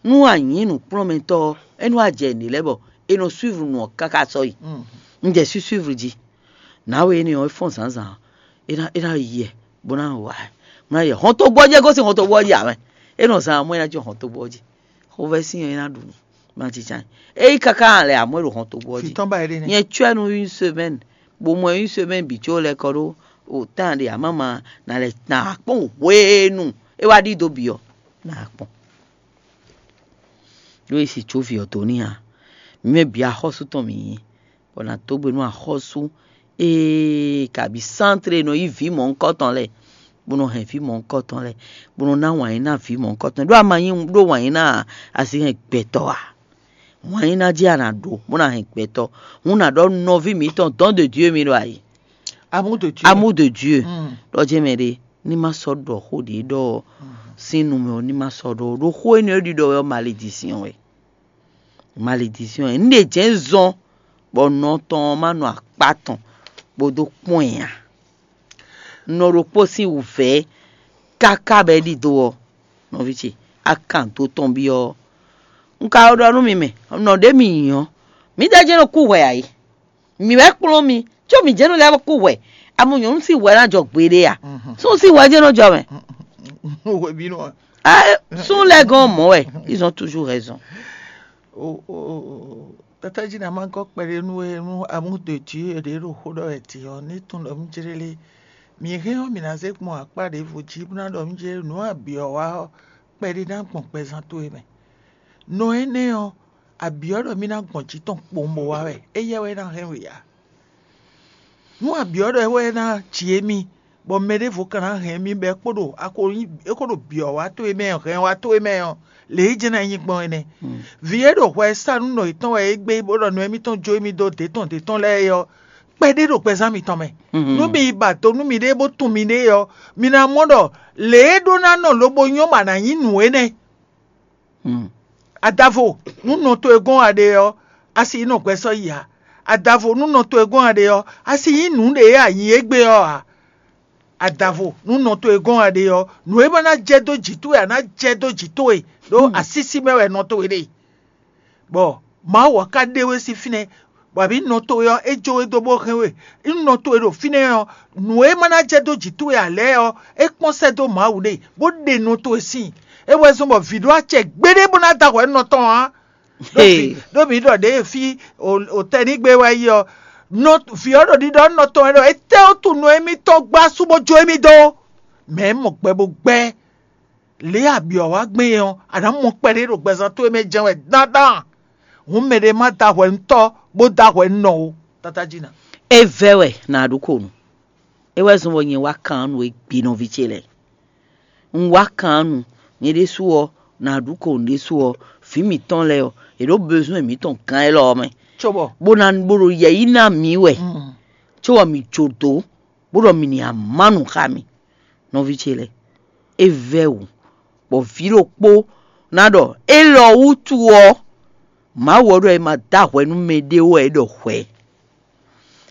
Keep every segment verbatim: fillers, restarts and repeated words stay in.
Nú a nyǐ nǔkplɔ́nmɛtɔ́ ɔ́, é nú a jɛ nǔɖé lɛ́ɛ bɔ è nɔ suivre nǔ ɔ́ káká sɔ́ yi. Un jɛ sí suivre jí. Nǎwe énɛ́ ɔ́, é fɔ́n zǎnzǎn, é ná é ná yi ɛ bó ná wa ɛ, bó ná yi ɛ. Hɔntogbó ɔ́ jí é gosín hɔntogbó ɔ́ jí ǎ mɛ. É nɔ zán amɔ́ é ná jɔ hɔntogbó ɔ́ jí. Xovɛ́sin ɔ́ é ná ɖu nǔ, ma jínján. É yi káká lɛ amɔ́ é ɖo hɔntogbó ɔ́ jí. Fǐtɔ́n ba é ɖe nɛ́. Nyɛ cwɛ́ nú une semaine, bó mɔ une semaine bǐ có lɛ́ kɔ ɖó o tán ɖe amama ná lɛ ná kpɔ́n hwenu é wá ɖído bǐ ɔ́, ná kpɔ́n. Ɖó e si có vǐ ɔ́ dó n'i ǎ. Mǐ mɛ bǐ axɔ́sú tɔn mǐ nyí, bɔ nǎ dó gbe nú axɔ́sú ee kabǐ sántre e nɔ yí vǐ mɔ̌hunkɔtɔn lɛ́ɛ, bó nɔ hɛn vǐ mɔ̌hunkɔtɔn lɛ́ɛ, bó nɔ ná wǎn yí ná vǐ mɔ̌hunkɔtɔn. Ɖó a ma nyí ɖó wǎn yí ná ǎ, a si hɛn gbɛtɔ́ ǎ. Wǎn yí ná jí a nǎ ɖó, bó ná hɛn gbɛtɔ́. Hǔn ná ɖɔ nɔví mǐtɔn dɔn de Dieu mi ɖo ayǐ. Amour de Dieu. Amour de Dieu. Ɖɔ jɛ mɛ ɖé, ní má sɔ́ ɖɔ xó ɖě ɖɔ sín nu mɛ ɔ́, ní má sɔ́ ɖɔ ó. Ɖó xó énɛ́ e ɖiɖɔ wɛ ɔ́, malédiction wɛ. Malédiction wɛ. Un ɖe jɛ̌n zɔn bɔ nɔ tɔn ɔ́ má nɔ akpá tɔn bó dó kpɔ́n ɛ ǎ. Nɔ ɖokpó sín wǔvɛ́ káká bɔ é ɖidó ɔ́, nɔví ce, a kan dó tɔn byɔ́. Un ka ɖɔ nú mi mɛ, nɔ ɖě mi nyí ɔ́, mǐdɛɛ jɛ́n nɔ kú hwɛ ǎ é. Mǐ wɛ kplɔ́n mi, có mǐ jɛ́n nɔ lɛ́ kú hwɛ. Amɔ nyɔ̌nu sín hwɛ ná jɔ gbeɖé a? Súnnu sín hwɛ jɛ́n nɔ jɔ mɛ. Hwebínú ɔ́. Súnnu lɛ́ɛ gɔ́n mɔ̌ wɛ, ils ont toujours raison. Tata jí ná má gɔ́ kpɛɖé nú we nú amúdodǐ e ɖě ɖo xó ɖɔ wɛ din ɔ́, ní tunwun ɖɔ mí jlé lé. Mǐ hɛn ɔ́, mǐ ná zé gbɔn akpá ɖěvo jí bó ná ɖɔ mí jlé nǔ abyɔ̌ wa ɔ́, kpɛɖé ná gbɔn gbɛzán towe mɛ. Nɔ énɛ́ ɔ́, abyɔ̌ ɖɔ mí ná gbɔn jǐ tɔn kpowun bó wá wɛ, éyɛ́ wɛ é ná hɛn we ǎ. Nú abyɔ̌ ɖɔ é wɛ ná ji émí, bɔ mɛ ɖěvo ka ná hɛn émí bɔ é kpo ɖo é kpo ɖo byɔ̌ wa towe mɛ hɛn wa towe mɛ ɔ́, lě e jɛ́n ná nyí gbɔn é nɛ́. Vǐ e ɖo hwɛ sa nú nɔ yětɔn wɛ é gbé bó ɖɔ nɔ émítɔn jó émí dó dě tɔn dě tɔn lɛ́ɛ é ɔ́, kpɛɖé ɖo gbɛzán mitɔn mɛ. Nú mi yi ba do nú miɖée bó tunwun miɖée ɔ́, mi ná mɔ ɖɔ lě e ɖó ná nɔ lobo nyɔ́ ma ná nyí nǔ énɛ́. Adavo, nú nɔ towe gɔ́n a ɖe ɔ́, a si yi nɔ gbɛ sɔ́ yi ǎ. Adavo, nú nɔ towe gɔ́n a ɖe ɔ́, a si nyí nǔɖé e a nyǐ égbé ɔ́ ǎ. Adavo, nú nɔ towe gɔ́n a ɖe ɔ́, nǔ e ma ná jɛ dó jǐ towe ǎ ná jɛ dó jǐ towe, ɖó asísí mɛ wɛ nɔ towe ɖe. Bɔ Mawu ɔ́ ka ɖe we sín fínɛ́, bɔ abǐ nɔ towe ɔ́, é jó we dó bó hɛn we. Nú nɔ towe ɖo fínɛ́ ɔ́, nǔ e ma ná jɛ dó jǐ towe ǎ lɛ́ɛ ɔ́, é kpɔ́n sɛ́ dó Mawu ɖe, bó ɖe nɔ towe síin. É wɛ zɔ́n bɔ vǐ ɖó acɛ gbeɖé bó ná da hwɛ nɔ tɔn ǎ. Ɖó vǐ ɖó mǐ ɖɔ ɖěe fí òtɛnígbe wɛ yí ɔ́, nɔ vǐ ɔ́ ɖo ɖiɖɔ nɔ tɔn wɛ ɖɔ étɛ́ ɔ́ tunwun nɔ émítɔn gbá sú bó jó émí dó. Mɛ̌ mɔ gbɛ bó gbɛ́. Lě e a byɔ̌ wá gbɛn é ɔ́, a nǎ mɔ kpɛɖé ɖo gbɛzán towe mɛ jɛ́n wɛ dandan. Hǔn mɛɖé má da hwɛ nú tɔ́, bó da hwɛ nú nɔ ó. Tata jí ná. É vɛ́ wɛ nǎ ɖu ko nǔ. É wɛ zɔ́n bɔ nyɛ wá kan nú we gbi nɔví ce lɛ́ɛ. Un wá kan nú nyɛ ɖésú ɔ́, nǎ ɖu ko nǔ ɖésú ɔ́, vǐ mǐtɔn lɛ́ɛ ɔ́, yě ɖo bezwɛn mǐtɔn gán élɔ́ ɔ́ mɛ. Cóbɔ bó ná bó ɖo yɛ̌yi ná mǐ wɛ, cóbɔ mǐ jó dó, bó ɖɔ mǐ ní amá nǔ xá mì. Nɔví ce lɛ́ɛ, é vɛ́ wǔ, bɔ vǐ ɖokpó ná ɖɔ élɔ́ wútu ɔ́, Mawu ɔ́ ɖɔ è ma dó ahwɛ nú mɛɖé ó wɛ é ɖɔ hwɛ.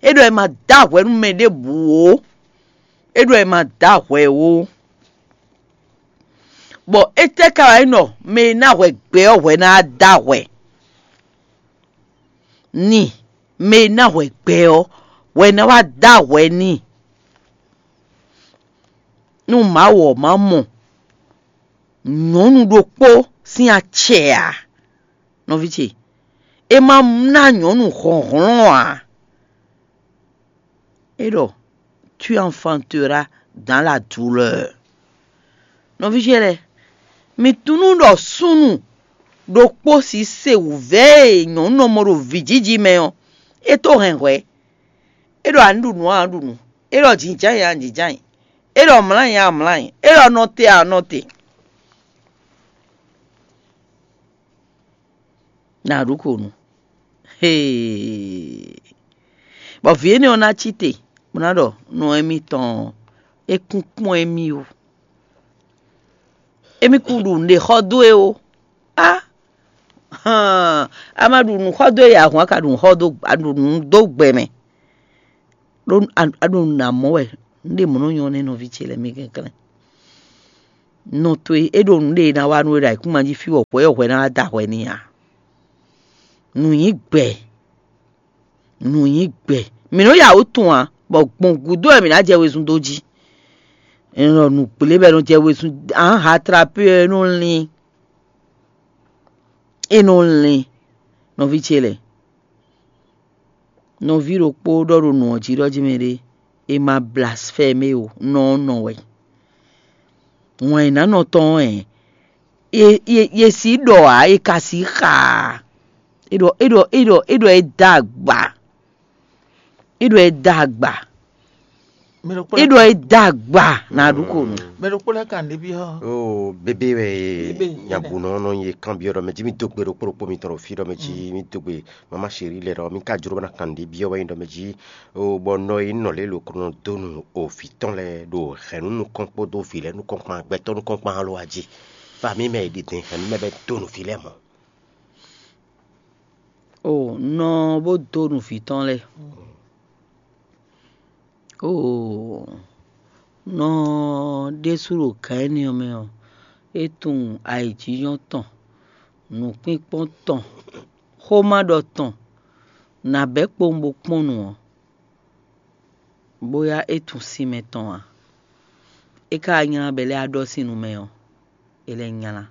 É ɖɔ è ma dó ahwɛ nú mɛ ɖěbǔ ó. É ɖɔ è ma dó ahwɛ ó. Bɔ étɛ́ ka wɛ nyí ɖɔ mɛ e ná hwɛ gbɛ ɔ́ hwɛ ná dó ahwɛ? Ni mɛ e ná hwɛ gbɛ ɔ́ hwɛ ná wá dó ahwɛ n'i. Nú Mawu ɔ́ má mɔ nyɔ̌nu ɖokpó sín acɛ ǎ, nɔví ce, é má ná nyɔ̌nu hlɔ̌nhlɔ́n ǎ. É ɖɔ, tu enfanteras dans la douleur. Nɔví ce lɛ́ɛ, mi tunú ɖɔ súnnu ɖokpó sise wǔvɛ́ e nyɔ̌nu nɔ mɔ ɖo vǐjiji mɛ ɔ́, é tó hɛn hwɛ. É ɖɔ a nǐ ɖu nǔ a nǎ ɖu nǔ. É ɖɔ jǐnján a nǎ jínján. É ɖɔ mlǎ a nǎ mlǎ. É ɖɔ nɔ te a nɔ te. Nǎ ɖu ko nú. Hee. Bɔ vǐ énɛ́ ɔ́ ná cí te, bó ná ɖɔ nɔ émítɔn ɔ́, é kún kpɔ́n émí ó. Émí kún ɖu nǔɖé xɔ dó e ó. Á, hán, a ma ɖu nǔ xɔ dó e ǎ hǔn, a ka ɖu nǔ xɔ dó a ɖu nǔ dó gbɛ mɛ. Ɖó a ɖo nǔ ná mɔ wɛ, nǔɖé mɔ̌ nɔ nyɔ́ nɛ́ nɔví ce lɛ́ɛ mɛ kɛnklɛ́n. Nɔ towe é ɖo nǔ ɖe e ná wa nú we ɖo ayǐkúngban jí fí bɔ hwɛ ɔ́ hwɛ ná wá da hwɛ n'i ǎ. Nǔ nyí gbɛ, nǔ nyí gbɛ. Mǐ nɔ́ ya wǔ tunwun ǎ, bɔ gbɔn gǔdo wɛ mǐ ná jɛ wezun dó jí. È nɔ ɖɔ nǔgblé bɔ è nɔ jɛ wezun, ǎ hatlapé ɔ́ é nɔ lín, é nɔ lín. Nɔví ce lɛ́ɛ, nɔví ɖokpó ɖɔ ɖo nǔ ɔ́ jí ɖɔ jí mɛ ɖé, è ma blasfɛmé o, nɔ ɔ́ nɔ wɛ. Wɛn e nǎ nɔ tɔn ɔ́, è, è, è, è sǐ ɖɔ ǎ, è ka sǐ xa ǎ. É ɖɔ é ɖɔ é ɖɔ é ɖɔ é dó agba. É ɖɔ é dó agba. É ɖɔ é dó agba ná ɖu ko nú. Mɛ ɖokpó lɛ́ɛ kan ɖě byɔ́. Oo, bébé wɛ Bébé, nyagunɔ nɔ nyi kanbyɔ́ ɖɔ mɛ jí mi dó gbe ɖokpó ɖokpó mitɔn ɖo fí ɖɔ mɛ jí mi dó gbe mama chéri lɛ ɖɔ mi ka jló bɔ ná kan ɖě byɔ́ wɛ nyi ɖɔ mɛ jí. Oo, bɔ nɔ e nɔ lě lo ko nɔ dó nu o vǐ tɔn lɛ́ɛ ɖo hɛ̌nnu nukɔn kpódó vǐ lɛ́ɛ nukɔn kpán gbɛtɔ́ nukɔn kpán alo ají. Fa mi mɛ e ɖi din hɛ̌nnu mɛ bɛ dó nu vǐ lɛ́ɛ mɔ̌. O nɔ bó dó nu vǐ tɔn lɛ́ɛ. Oo, nɔ ɖésú ɖo gǎn énɛ́ ɔ́ mɛ ɔ́, é tunwun ayǐjínjɔ́n tɔn, nǔkpínkpɔ́n tɔn, xómaɖɔ tɔn, nǎ bɛ́ kpowun bó kpɔ́n nǔ ɔ́, bóyá é tunwun sinmɛ tɔn ǎ. É ka nylá bɔ é lɛ́ wá ɖɔ sín nu mɛ ɔ́, é lɛ́ nylá.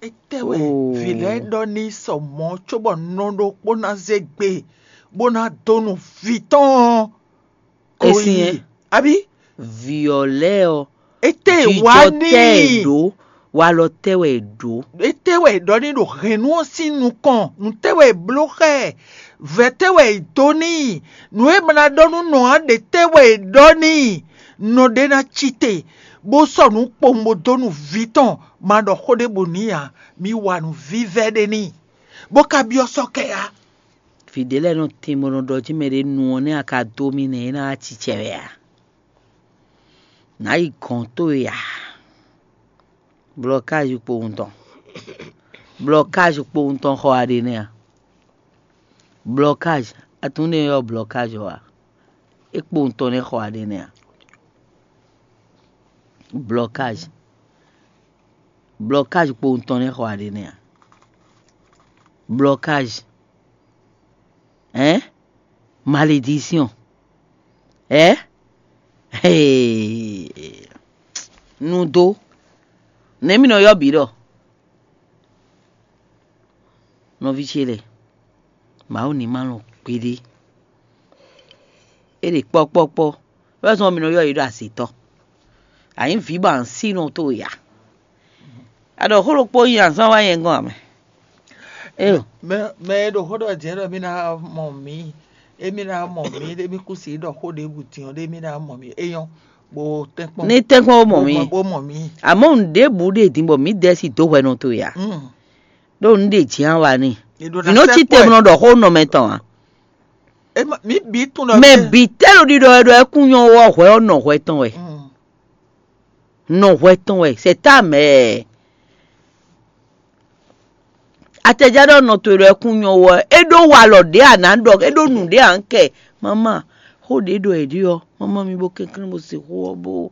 Étɛ́ wɛ Oo. vǐ lɛ́ɛ ɖɔ n'i sɔ mɔ̌ cóbɔ nɔ ɖokpó ná zé gbe bó ná dó nu vǐ tɔn ɔ́? É sin Abí? Vǐ ɔ́ lɛ́ɛ ɔ́, Étɛ́ e wá jijɔ n'i? Tɛ́ ɛ ɖǒ, walɔ tɛ́ wɛ è ɖǒ. Étɛ́ wɛ è ɖɔ n'i ɖo hɛ̌nnu ɔ́ sín nukɔn? Nǔ tɛ́ wɛ è bló xá ɛ? Vɛ̌ tɛ́ wɛ è dó n'i? Nǔ e ma ná ɖɔ nú nɔ ǎ ɖě tɛ́ wɛ è ɖɔ n'i? Nɔ ɖé ná cí te, bó sɔ́ nǔ kpowun bó dó nu vǐ tɔn, ma ɖɔ xó ɖěbǔ n'i ǎ. Mi wa nǔ vívɛ́ ɖé n'i, bó ka byɔ́ sɔ́ kɛ ǎ. Vǐ ɖé lɛ́ɛ nɔ tín bó nɔ ɖɔ jí mɛ ɖé nu ɔ́ nɛ́ a ka dó mì nɛ́ é ná wá cicɛ wɛ ǎ. Nǎ yi gɔ̌n towe ǎ. Blɔkázi kpowun tɔn. Blɔkázi kpowun tɔn xɔ aɖe nɛ́ a? Blɔkázi, a tunwun ɖé ɔ́ blɔkázi ɔ́ a? É kpowun tɔn nɛ́ xɔ aɖe nɛ́ a? Blɔkázi. Blɔkázi kpowun tɔn nɛ́ xɔ aɖe nɛ́ a? Blɔkázi. Hein? Malédiction. Hein? Hey. Nudo. Nɛ̌ mi nɔ ylɔ́ bǐ ɖɔ? Nɔví ce lɛ́ɛ, Mawu ní ma lɔn gbeɖé. É ɖe kpɔ́kpɔ́kpɔ́. Wɛ́ zɔn mi nɔ ylɔ́ yě ɖo azǐtɔ́. Anyǐ vǐ bɔ ansínɔ towe ya. A ɖɔ xó ɖokpó nyi azán wá nyɛ gɔ́n ǎ mɛ. Éyo. Mɛ mɛ e ɖo xó ɖɔ jɛ̌n ɖɔ mí ná mɔ mǐ, émí ná mɔ mǐ, émí kú si ɖɔ xó ɖěbǔ din ɔ́, ɖé mí ná mɔ mǐ. É nyɔ́, bó tɛ́nkpɔ́n. Ní tɛ́nkpɔ́n ó mɔ mǐ. Bó mɔ mǐ. Àmọ́ nǔɖébǔ ɖe din bɔ mǐ dɛ́ sí dó hwɛ nɔ towe ǎ. Mm. Ɖó nǔ ɖe jǐ á wa n'i. È ɖo Vǐ nɔ cí te mlɔ ɖɔ xó nɔ mɛ tɔn ǎ. É ma- mǐ bǐ tunwun ɖɔ Mɛ bǐ tɛ́ ɖo ɖiɖɔ wɛ ɖɔ é kún nyɔ́ wɔ hwɛ ɔ́ nɔ hwɛ tɔn wɛ. Mm. Nɔ hwɛ tɔn wɛ. C'est ta mère. Atɛjá ɖɔ nɔ towe ɖɔ é kún nyɔ́ wɔ é ɖó walɔ ɖě a nǎ ɖɔ é ɖó nǔ ɖě a ń kɛ. Mama, xó ɖě ɖɔ è ɖi ɔ́, mama mi bó kɛnklɛ́n bó se xó ɔ́ bó.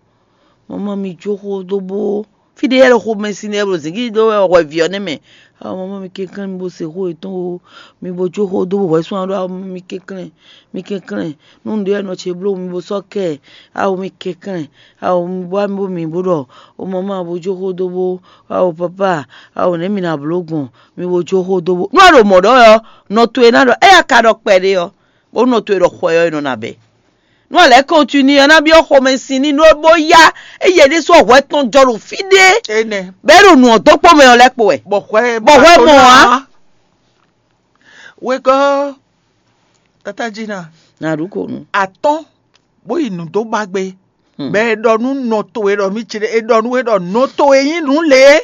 Mama mi jó xó dó bó. Fí ɖé yɛ ɖo xomɛ sin nɛ ɖo zǐngídi dó wɛ hwɛví ɔ́ nɛ́ mɛ. Awo mama mi kɛnklɛ́n mi bó se xó yětɔn o. Mi bó jó xó dó bó hwɛ sún aɖó awo mi kɛnklɛ́n. Mi kɛnklɛ́n. Nú nǔɖé wɛ nɔ ce bló mi bó sɔ́ kɛ ɛ. Awo mi kɛnklɛ́n. Awo mi bó mi bó mi bó ɖɔ o mama bó jó xó dó bó. Awo papa, awo nɛ̌ mi ná bló gbɔn? Mi bó jó xó dó bó. Nú a ɖo mɔ̌ ɖɔ wɛ ɔ́, nɔ towe ná ɖɔ éyɛ́ a ka ɖɔ kpɛɖé ɔ́, bó nɔ towe ɖɔ xwɛ ɔ́ è nɔ ná bɛ́. Nú a lɛ́ kɔntinué ɔ́, ná byɔ́ xomɛ sin ní nú bó yá eye ɖésú hwɛ tɔn jɔ ɖo fí ɖé. Énɛ́. Bɔ é ɖo nǔ ɔ́ dó kpó mɛ ɔ́ lɛ́ kpo wɛ. Bɔ hwɛ Bɔ hwɛ mɔ ǎ. Wegɔ́, tata Jina, Ná ɖu ko nu. Atɔ́n bó yi nǔ dó ba gbé. Hmm. Bɔ è ɖɔ nú nɔ towe ɖɔ mí ci ɖé, è ɖɔ nú we ɖɔ nɔ towe nyí nǔ lě.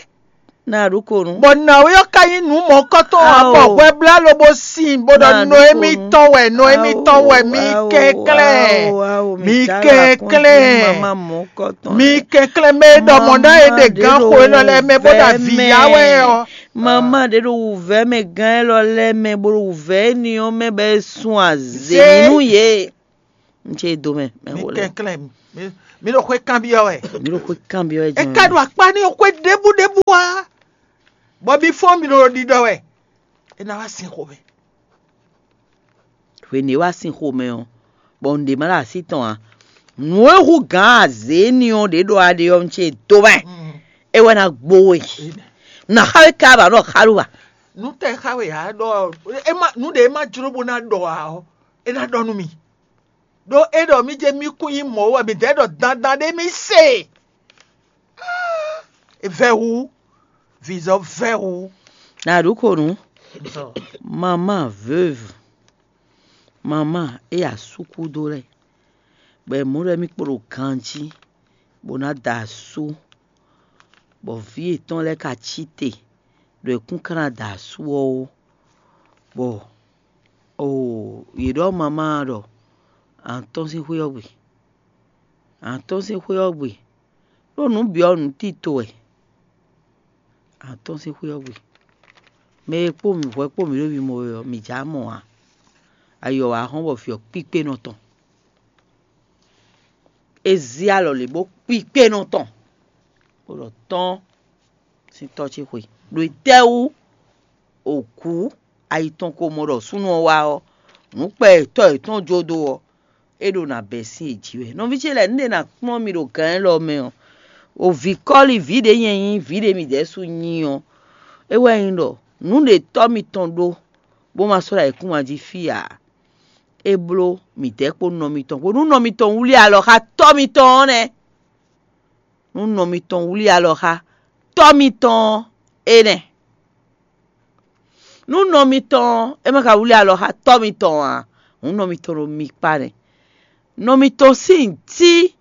Ná ɖu ko nu. Bɔ nǎwe ɔ́ ka nyí nǔ mɔ̌kɔtɔn ǎ, Ao. Bɔ hwɛblá lobo sin bó ɖɔ Ná nɔ ɖu émí ko nu. Tɔn wɛ, nɔ émí Ao, tɔn wɛ, mí ao, kɛnklɛ́n. Ao, ao, Mí mi ka kɛnklɛ́n. Mama mɔ̌kɔtɔn Mí lɛ. Kɛnklɛ́n mɛ e ɖɔ mɔ̌ ná e Mama ɖe ɖe gán xo élɔ́ lɛ́ɛ mɛ bó ɖo vɛ̌ avǐ yá mɛ. Wɛ ɔ́. Mama ɖe ɖo wǔvɛ́ mɛ gán élɔ́ lɛ́ɛ mɛ bó ɖo wǔvɛ́ énɛ́ ɔ́ mɛ bɔ é sun azě Zé. Nú yě. N ce do mɛ, mɛ Mí xo lɛ. Kɛnklɛ́n, mí, Mi ɖo xwé kanbyɔ́ wɛ. Mi ɖo xwé kanbyɔ́ wɛ E ka ɖo akpá n'i xwé ɖěbú ɖěbú wá, bɔ mi fɔ́n mi ɖo ɖiɖɔ wɛ. É ná wá sin xomɛ. Hwenu e wá sin xomɛ ɔ́, bɔ un ɖě ma ɖo así tɔn ǎ. Nǔ e hú gǎn azě éní ɔ́ ɖě ɖɔ aɖe ɔ́, un ce dó mɛ. É wɛ ná gbo we. Nǎ xa we ká ba ɖɔ xá ɖó wa. Nǔ tɛ xa wɛ ǎ ɖɔ ɔ, é má nǔ ɖe é má jló bó ná ɖɔ ǎ ɔ́, é ná ɖɔ nú mi. Ɖó é ɖɔ mí jɛ mí kún nyí mɔ̌ wɛ mǐ dɛ́ ɖɔ dandan ɖé mí se. Vɛ́ hu, vǐzɔ vɛ́ hu. Na ɖu ko nǔ. Maman veuve, maman e asú kúdó lɛ́ɛ, bɔ è mɔ ɖɔ émí kpo ɖo ganjí, bó ná da asú, bɔ vǐ yětɔn lɛ́ɛ ka cí te, ɖo è kún ka ná da asú ɔ́ ó, bɔ oo yě ɖɔ maman ɖɔ à ń tɔ́n sín xwé ɔ́ gbe, à ń tɔ́n sín xwé ɔ́ gbe, ɖó nǔ bǐ ɔ́ nǔ tito wɛ. À ń tɔ́n sín xwé ɔ́ gbe. Mɛ e kpó mì hwɛ kpó mǐ ɖo mimɔ wɛ ɔ́, mǐ já mɔ ǎ. Ayɔ wǎ hɔn bɔ vǐ ɔ́ kpíkpé nɔ tɔn. É zí alɔ lě bó kpíkpé nɔ tɔn, bó ɖɔ tɔ́n sín tɔ́ ce xwe. Ɖo tɛ́wú òkú ayi tɔn ko mɔ ɖɔ súnnu ɔ́ wá ɔ́, nǔkpɛ e tɔ́ yětɔn jó dó ɔ́, é ɖo nǎ bɛ́ sín è jí wɛ. Nɔví ce lɛ́ɛ, nǔɖé ná kplɔ́n mi ɖo gǎn élɔ́ mɛ ɔ́, o vǐ kɔ́li vǐ ɖě nyɛ nyí, vǐ ɖě mǐ ɖɛ̌su nyí ɔ́, é wɛ nyí ɖɔ nǔ ɖě tɔ́ mitɔn ɖó, bó ma sɔ́ ɖo ayǐkúngban jí fí ǎ. É bló midɛɛ kpó nɔ mitɔn kpó nú nɔ mitɔn wlí alɔ xá tɔ́ mitɔn ɔ́ nɛ́. Nú nɔ mitɔn wlí alɔ xá tɔ́ mitɔn ɔ́, é nɛ́. Nú nɔ mitɔn ɔ́, é ma ka wlí alɔ xá tɔ́ mitɔn ǎ, hǔn nɔ mitɔn ɖo mi kpá nɛ́. Nɔ mitɔn sín cí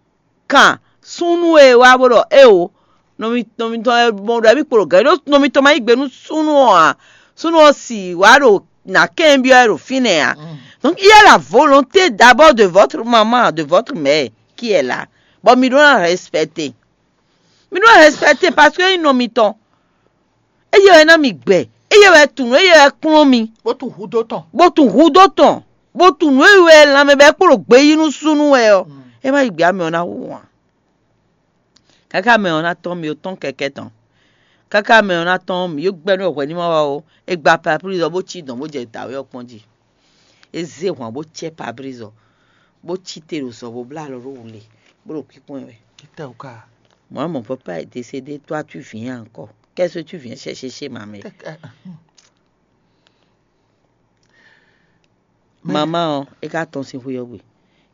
kan súnnu e wá bó ɖɔ éeǒ, nɔ mitɔn e mɔ ɖɔ émí kpo ɖo gǎn ɖó nɔ mitɔn ma yí gbe nú súnnu ɔ́ ǎ. Súnnu ɔ́ si wǎ ɖo nǎ kɛnbyɔ́ ɛ ɖo fínɛ́ ǎ. Donc il y a la volonté d'abord de votre maman, de votre mère qui est là. Bon, mi ɖó ná respecter. Mi ɖó ná respecter parce que é nyí nɔ mitɔn. Eye wɛ ná mi gbɛ, eye wɛ tunwun, eye wɛ kplɔ́n mi. Bó tunwun hudó tɔn. Bó tunwun hudó tɔn, bó tunwun nǔ e wɛ lanmɛ bɔ é kpo ɖo gbe yí nú súnnu wɛ ɔ́, é má yi gbě amɛ ɔ́ ná hu ǎ. Káká mɛ ɔ́ ná tɔ́n mi ó tɔ́n kɛkɛ́ tɔn. Káká mɛ ɔ́ ná tɔ́n mi ó gbɛ́ nú hwɛ ní ma wá ó, é gba paplízɔ bó cí dɔ̌n bó jɛ dǎwe ɔ́ kpɔ́n jí. É zé hwan bó cɛ paplízɔ, bó cí te ɖo zɔ bó blá alɔ ɖó wǔ lě, bó ɖo kpínkpɔ́n ɛ wɛ. Títɛ wú ká. Moi, mon papa est décédé, toi tu viens encore. Qu'est-ce que tu viens chercher chez ma mère? Mama ɔ́, é ka tɔ́n sín xwé ɔ́ gbe.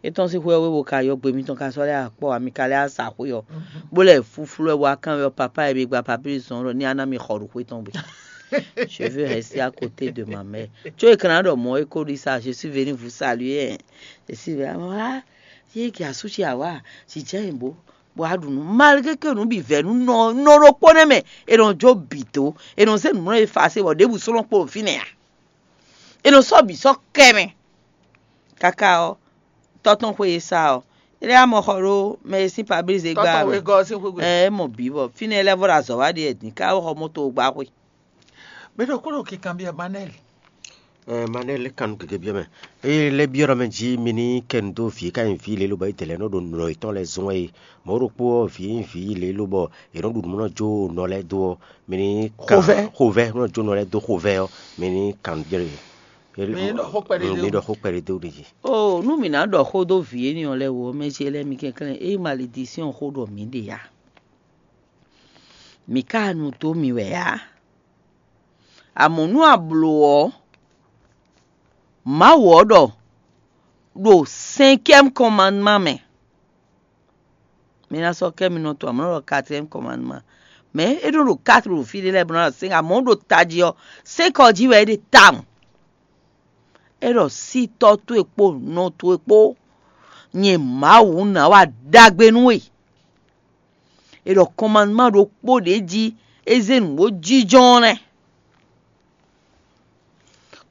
É tɔ́n sín xwé ɔ́ gbe bó ka yɔ gbe mitɔn ka sɔ́ lɛ́ akpɔ́ ǎ, mi ka lɛ́ sa xwé ɔ́, bó lɛ́ flúflú ɛ bó wá kanbyɔ́ papa e mi gba papílisi ɔ́ ɖɔ ní á ná mi xɔ ɖo xwé tɔn gbe. Je veux rester à côté de ma mère. Tso e kan ná ɖɔ mɔ̌ é ko ɖi sa, je suis venu vous saluer. Je suis venu ah, yé ki asú ce àwa, jǐjɛ yìnbó, bó wá ɖu nǔ. Malgré que nǔ bǐ vɛ́ nú nɔ nɔ ɖokpó nɛ́ mɛ, è nɔ jó bǐ dó, è nɔ zé nǔmlɔ́ e fa se bɔ ɖěbǔ sɔ́ nɔ kpo ɖo fínɛ́ ǎ. È nɔ sɔ́ bǐ sɔ́ kɛ mɛ. Káká ɔ́, tɔ́ tɔn xwe e sa ɔ́, é lɛ́ amɔ xɔ ɖó mɛ e sín pablíze gbá Tɔ́tɔn mɛ. Wegɔ́ ɔ́ sín xwé gbe. Ɛ é mɔ bǐ bɔ fínɛ́ lɛ́ vɔ ɖo azɔ̌ wá ɖi wɛ din ká xɔ mɔto gbá xwe. Mɛ ɖokpó ɖo kikanbyɔ́ Manɛ́li. Ɛɛ, Manɛ́li, kan nú gěgé byɔ́ mɛ. Ée lɛ́ byɔ́ ɖɔ mɛ jí mi ní kɛ nu dó vǐ e ka nyí vǐ lě lobɔ é dɛ lɛ́ɛ nɔ ɖo nǔ yětɔn lɛ́ɛ zɔ́n é. Mɔ̌ ɖokpó ɔ́, vǐ e nyí vǐ lě lobɔ è nɔ ɖu nǔ nɔ jó nɔ lɛ́ɛ dó ɔ́, mi ní kan Xovɛ́. Xovɛ́ nɔ jó nɔ lɛ́ɛ dó xovɛ́ ɔ́, mi ní kan nú jɛ. Mi ní ɖɔ xó kpɛɖé dó. Mi ní ɖɔ xó kpɛɖé dó n'i jí. Oo, nú mǐ ná ɖɔ xó dó vǐ énɛ́ ɔ́ lɛ́ɛ wú ɔ́, mɛ ce lɛ́ɛ mi kɛnklɛ́n, ée maledisíɔn xó ɖɔ mǐ ɖe ǎ. Mǐ ka nu dó mì wɛ ǎ. Amɔ̌ nú a blǒ ɔ́, Mawu ɔ́ ɖɔ ɖo cinquième commandement mɛ. Mi ná sɔ́ kɛ́ mi nɔ to amɔ̌ nɔ ɖɔ quatrième commandement. Mais é ɖo ɖo quatre ɖo fí ɖé lɛ́ɛ bó ná ɖɔ cinq amɔ̌ ɖo tají ɔ́, cinq ɔ́ jí wɛ é ɖe tawun. É ɖɔ sí tɔ́ towe kpó nɔ towe kpó nyɛ Mawu ná wa ɖagbe nú we. È ɖɔ kɔnmanúma ɖokpó ɖě jí é zé nǔ bó jínjɔ́n ɔ́ nɛ́.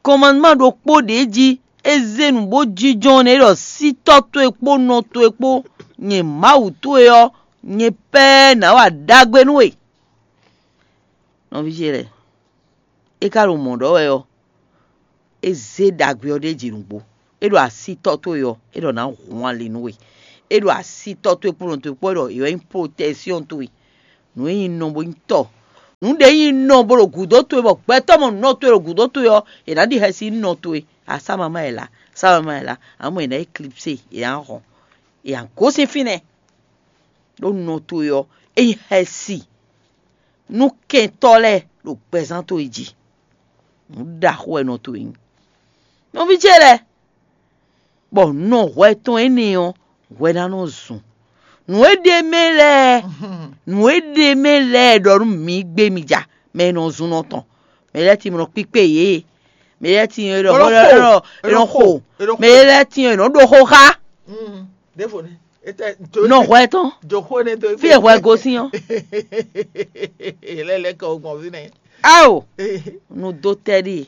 Kɔnmanúma ɖokpó ɖě jí é zé nǔ bó jínjɔ́n ɔ́ nɛ́. É ɖɔ sí tɔ́ towe kpó nɔ towe kpó nyɛ Mawu towe ɔ́, nyɛ pɛ́ɛ́ nǎ wa ɖagbe nú we. Nɔví ce lɛ́ɛ, é ka ɖo mɔ̌ ɖɔ wɛ ɔ́, é zé ɖagbe ɔ́ ɖ'é jí nǔgbó. É ɖo así tɔ́ towe ɔ́, é ɖɔ nǎ hun ali nú we. É ɖo asi tɔ́ towe kpó nɔ towe kpó ɖɔ è wɛ nyí protɛksyɔ́n towe. Nǔ e nyí nɔ bó nyí tɔ́. Nǔ ɖě nyí nɔ bó ɖo gǔdo towe bɔ gbɛtɔ́ mɔ nɔ towe ɖo gǔdo towe ɔ́, è nǎ ɖi xɛsi nú nɔ towe. Asámamá è lá, sámamá è lá, amɔ̌ è nǎ yi klipsé, è nǎ hɔn, è nǎ gosín fínɛ́. Ɖó nɔ towe ɔ́, é nyí xɛsi nú kɛntɔ́ lɛ́ɛ ɖo gbɛzán towe jí. Nǔ ɖaxó wɛ nɔ towe nyí. Nɔví ce lɛ́ɛ, bɔ nɔ hwɛ tɔn énɛ́ ɔ́, hwɛ ná nɔ zun. Nǔ e ɖ'é mɛ lɛ́ɛ, nǔ e ɖ'é mɛ lɛ́ɛ ɖɔ nú mǐ gbé mi ja, mɛ e nɔ zun nɔ tɔn, mɛ lɛ́ɛ tíin nɔ kpíkpé yě, mɛ lɛ́ɛ tíin e ɖɔ È nɔ xo, è nɔ xo, è nɔ xo. Mɛ lɛ́ɛ tíin e nɔ ɖo xó xá. Ɖěvo ní. Nɔ hwɛ tɔn, Jǒxó énɛ́ dó fí e hwɛ gosín ɔ́. Lɛ́lɛ́ kɔ gbɔn fínɛ́. Ao, nu dó tɛ́ ɖíe,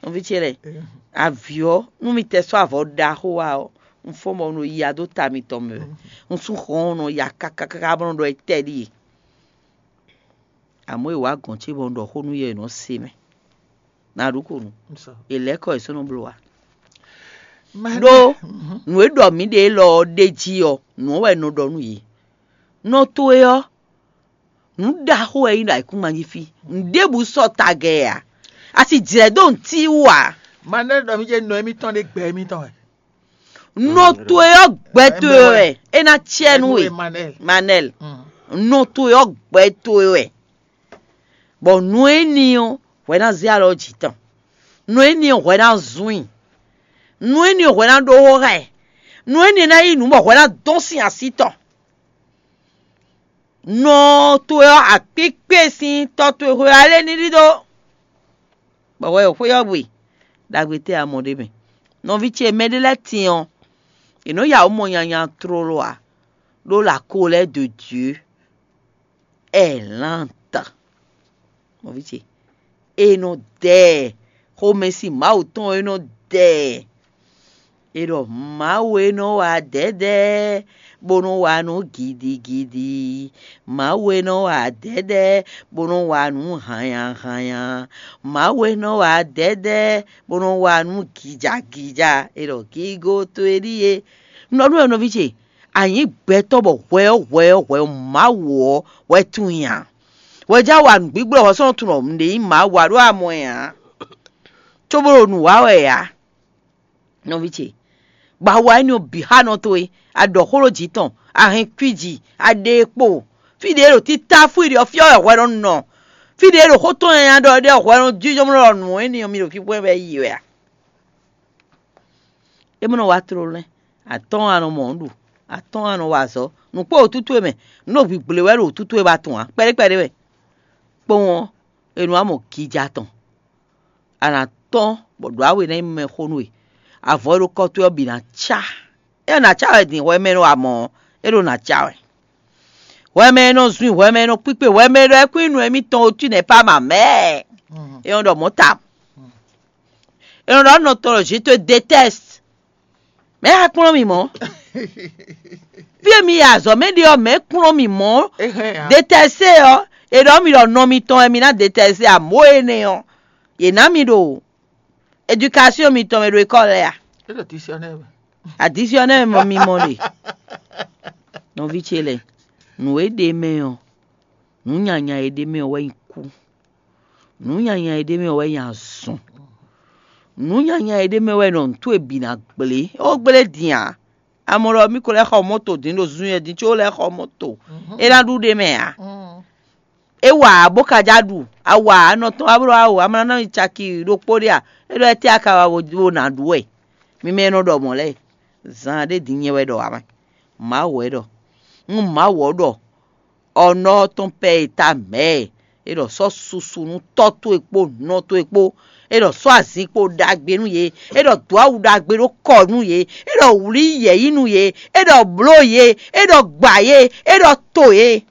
nɔví ce lɛ́ɛ, avǐ ɔ́, nú mi tɛ sɔ́ avɔ ɖaxó wá ɔ́, un fɔ́n bɔ un ɖo yiya dó ta mitɔn mɛ wɛ. Un sú hɔn ɔ́ nɔ ya káká káká bɔ nɔ ɖɔ etɛ́ ɖíe. Amɔ̌ è wǎ gɔ̌n ce bɔ un ɖɔ xó nú yɛ è nɔ se mɛ. Nǎ ɖu ko nu. È lɛ̌ kɔ è sɔ́ nɔ bló wa. Ɖó nǔ e ɖɔ mǐ ɖe élɔ́ ɔ́ ɖ'é jí ɔ́, nǔ ɔ́ wɛ un nɔ ɖɔ nú yě. Nɔ towe ɔ́, nǔ ɖaxó wɛ é nyí ɖo ayǐkúngban jí fí. Nǔɖébǔ sɔ́ tagɛ ǎ. A si jlɛ̌ dó nǔtí wú ǎ. Manɛ́ ɖɔ mí jɛ nɔ émítɔn ɖé gbɛ émítɔn wɛ. Nɔ towe ɔ́, gbɛ towe wɛ é ná cɛ nú we. Manɛ́l. Nɔ towe ɔ́, gbɛ towe wɛ. Bɔ nǔ énɛ́ ɔ́, hwɛ ná zé alɔ jǐ tɔn. Nǔ énɛ́ ɔ́, hwɛ ná zún i. Nǔ énɛ́ ɔ́, hwɛ ná ɖó xó xá ɛ. Nǔ énɛ́ ná yí nǔ bɔ hwɛ ná dɔn sín así tɔn. Nɔ towe ɔ́, akpíkpé sín tɔ́ towe xwe ɔ́, alé ní ɖidó. Bɔ hwɛ xwé ɔ́ gbe, ɖagbe tɛ́ a mɔ ɖ'é mɛ? Nɔví ce, mɛɖé lɛ́ɛ tíin ɔ́, è nɔ́ ya wǔ mɔ nyanya tlóló ǎ, ɖó la colère de Dieu est lente. Nɔví ce, è nɔ dɛ ɛ, xomɛsin Mawu tɔn e nɔ dɛ ɛ. È ɖɔ Mawu e nɔ wa dɛ̌dɛ́, bó nɔ wa nǔ gidigidi. Mawu e nɔ wa dɛ̌dɛ́, bó nɔ wa nǔ hannyahannya. Mawu e nɔ wa dɛ̌dɛ́, bó nɔ wa nǔ gijagija. È ɖɔ gigo towe ɖíe. Un ɖɔ nú we nɔví ce, a nyǐ gbɛtɔ́ bɔ hwɛ ɔ́ hwɛ ɔ́ hwɛ ɔ́ Mawu ɔ́ wɛ tunwun i ǎ. Hwɛ jɛ́n a wa nǔgbígbó wɛ hwɛ sɔ́ nɔ tunwun ɖɔ nǔɖé nyí Mawu ǎ ɖó a mɔ ɛ ǎ. Cóbó ɖo nǔ wa wɛ ǎ. Nɔví ce, gbawa énɛ́ ɔ́ bǐ xá nɔ towe, a ɖɔ xó ɖó jǐ tɔn, a hɛn kwíji, a ɖe e kpo. Fí ɖě e ɖo títá fú i ɖe ɔ́, fí ɔ́ wɛ hwɛ nɔ nɔ. Fí ɖě e ɖo xó tɔn nyanya ɖɔ ɖe ɔ́, hwɛ nɔ jínjɔ́n ɖɔ nǔ énɛ́ ɔ́, mi ɖo fínfɔ́n wɛ yi wɛ a? É mɔ nɔ wá tlóló lɛ́ɛ, atɔ́ɔ́n a nɔ mɔ ɔ́ ɖu, atɔ́ɔ́n a nɔ wa azɔ̌. Nǔ kpó wǔtútú e mɛ, nǔ ɖo gbǐgblé wɛ ɖo wǔtútú e ba tɔn ǎ, kpɛɖé kpɛɖé wɛ. Kpowun ɔ́, è nɔ wá mɔ gija tɔn. A nǎ tɔ́n bɔ ɖǒ awe ná nyí mɛxó nú we. Avɔ e ɖo kɔ towe ɔ́ bǐ ná cá. É ná cá wɛ din hwɛ mɛ e nɔ wa mɔ̌ ɔ́, é ɖo ná cá wɛ. Hwɛ mɛ e nɔ zun i, hwɛ mɛ e nɔ kpíkpe, hwɛ mɛ e ɖɔ é kún nyí nǔ émítɔn otu nɛ̌ pá ma mɛ̌. É nɔ ɖɔ mɔ̌ ta. É nɔ ɖɔ nɔ tɔn ɖɔ je te déteste. Mɛ̌ a kplɔ́n mì mɔ̌? Fí e mi yi azɔ̌ mɛ ɖe ɔ́, mɛ̌ kplɔ́n mì mɔ̌? Déteste ɔ́, è ɖɔ mi ɖɔ nɔ mitɔn wɛ mi ná déteste amǒ énɛ́ ɔ́, yě ná mi ɖo éducation mitɔn mɛ ɖo école lɛ́ɛ a? Additionnaire mɔ mi mɔ ɖe. Nɔví ce lɛ́ɛ, nǔ e ɖe mɛ ɔ́, nǔ nyanya e ɖe mɛ ɔ́ wɛ nyí kú. Nǔ nyanya e ɖe mɛ ɔ́ wɛ nyí azɔn. Nǔ nyanya e ɖe mɛ wɛ nɔ nǔ towe bǐ ná gblé. É wó gblé din ǎ. A mɔ ɖɔ mí ko lɛ́ xɔ mɔ̌to din ɖo zun e din có lɛ́ xɔ mɔ̌to. É ná ɖu ɖ'é mɛ ǎ. É wa ǎ bó ka já ɖu. A wa ǎ, nɔ tɔn wá bló awo, a ma ná nɔ nyi caki ɖokpó ɖé a? É ɖɔ étɛ́ a ka wa bo ná ɖu wɛ? Mi mɛ e nɔ ɖɔ mɔ̌ lɛ́ɛ, zan ɖé din nyɛ wɛ ɖɔ ǎ mɛ. Mawu wɛ ɖɔ. Un Mawu ɔ́ ɖɔ. Ɔ́ nɔ ɔ́ tɔn pɛ e ta mɛ̌ ɛ. É ɖɔ sɔ́ susu nú tɔ́ towe kpó nɔ towe kpó. É ɖɔ sɔ́ azin kpo ɖagbe nú yě. É ɖɔ dǒ awu ɖagbe ɖó kɔ nú yě. É ɖɔ wlí yɛ̌yi nú yě. É ɖɔ bló yě. É ɖɔ gba yě. É ɖɔ to yě.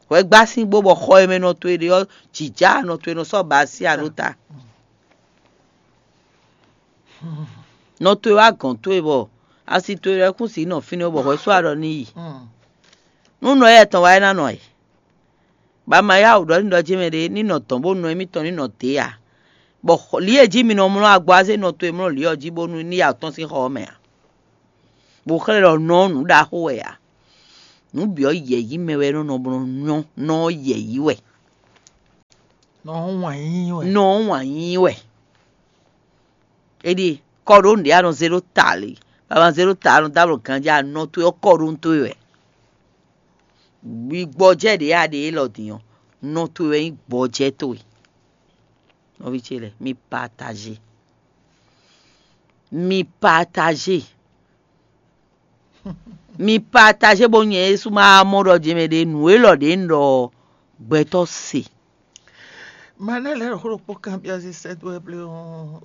Hwɛgbásín bó bɔ xɔ e mɛ nɔ towe ɖe ɔ́, jǐjá nɔ towe nɔ sɔ́ ba así alo ta. Nɔ towe wá gɔ̌n towe bɔ asi towe lɛ́ɛ kún sixú nɔ fínɛ́ bɔ hwɛ sú aɖɔ ní yi. Nú nɔ éyɛ́ tɔn wá é ná nɔ ɛ. Ba ma yá wǔ ɖɔ ní ɖɔ jɛ́n mɛ ɖé ní nɔ dɔn bó nɔ émítɔn ní nɔ dě ǎ. Bɔ lǐ e jí mi nɔ mlɔ́ agbɔ azé nɔ towe mlɔ́ lǐ ɔ́ jí bónú ní ya tɔ́n sín xɔ ɔ́ mɛ ǎ. Bó xlɛ́ ɖɔ nɔ ɔ́ nǔ ɖaxó wɛ ǎ. Nǔ bǐ ɔ́ yɛ̌yí mɛ wɛ é nɔ nɔ bó nɔ nyɔ́, nɔ ɔ́ yɛ̌yí wɛ. Nɔ ɔ́ wǎn yíyí wɛ. Nɔ ɔ́ wǎn yíyí wɛ. É ɖíe kɔ ɖó nǔɖé a nɔ zé ɖó ta lě, baba zé ɖó ta a nɔ dó ablɔ ganjí a nɔ towe ɔ́ kɔ ɖó nú towe wɛ. Gbɔjɛ́ ɖě a ɖe élɔ́ din ɔ́, nɔ towe wɛ nyí gbɔjɛ́ towe. Nɔví ce lɛ́ɛ, mi pataje. Mi pataje. Mi pataje bó nyɛ Yésu ma mɔ ɖɔ jɛmɛ ɖě nǔ élɔ́ ɖě un ɖɔ gbɛtɔ́ se. Manɛ́ lɛ́ɛ ɖo xó ɖokpó kanbyɔ́ zí sɛ́ dó wɛ blé ɔ́.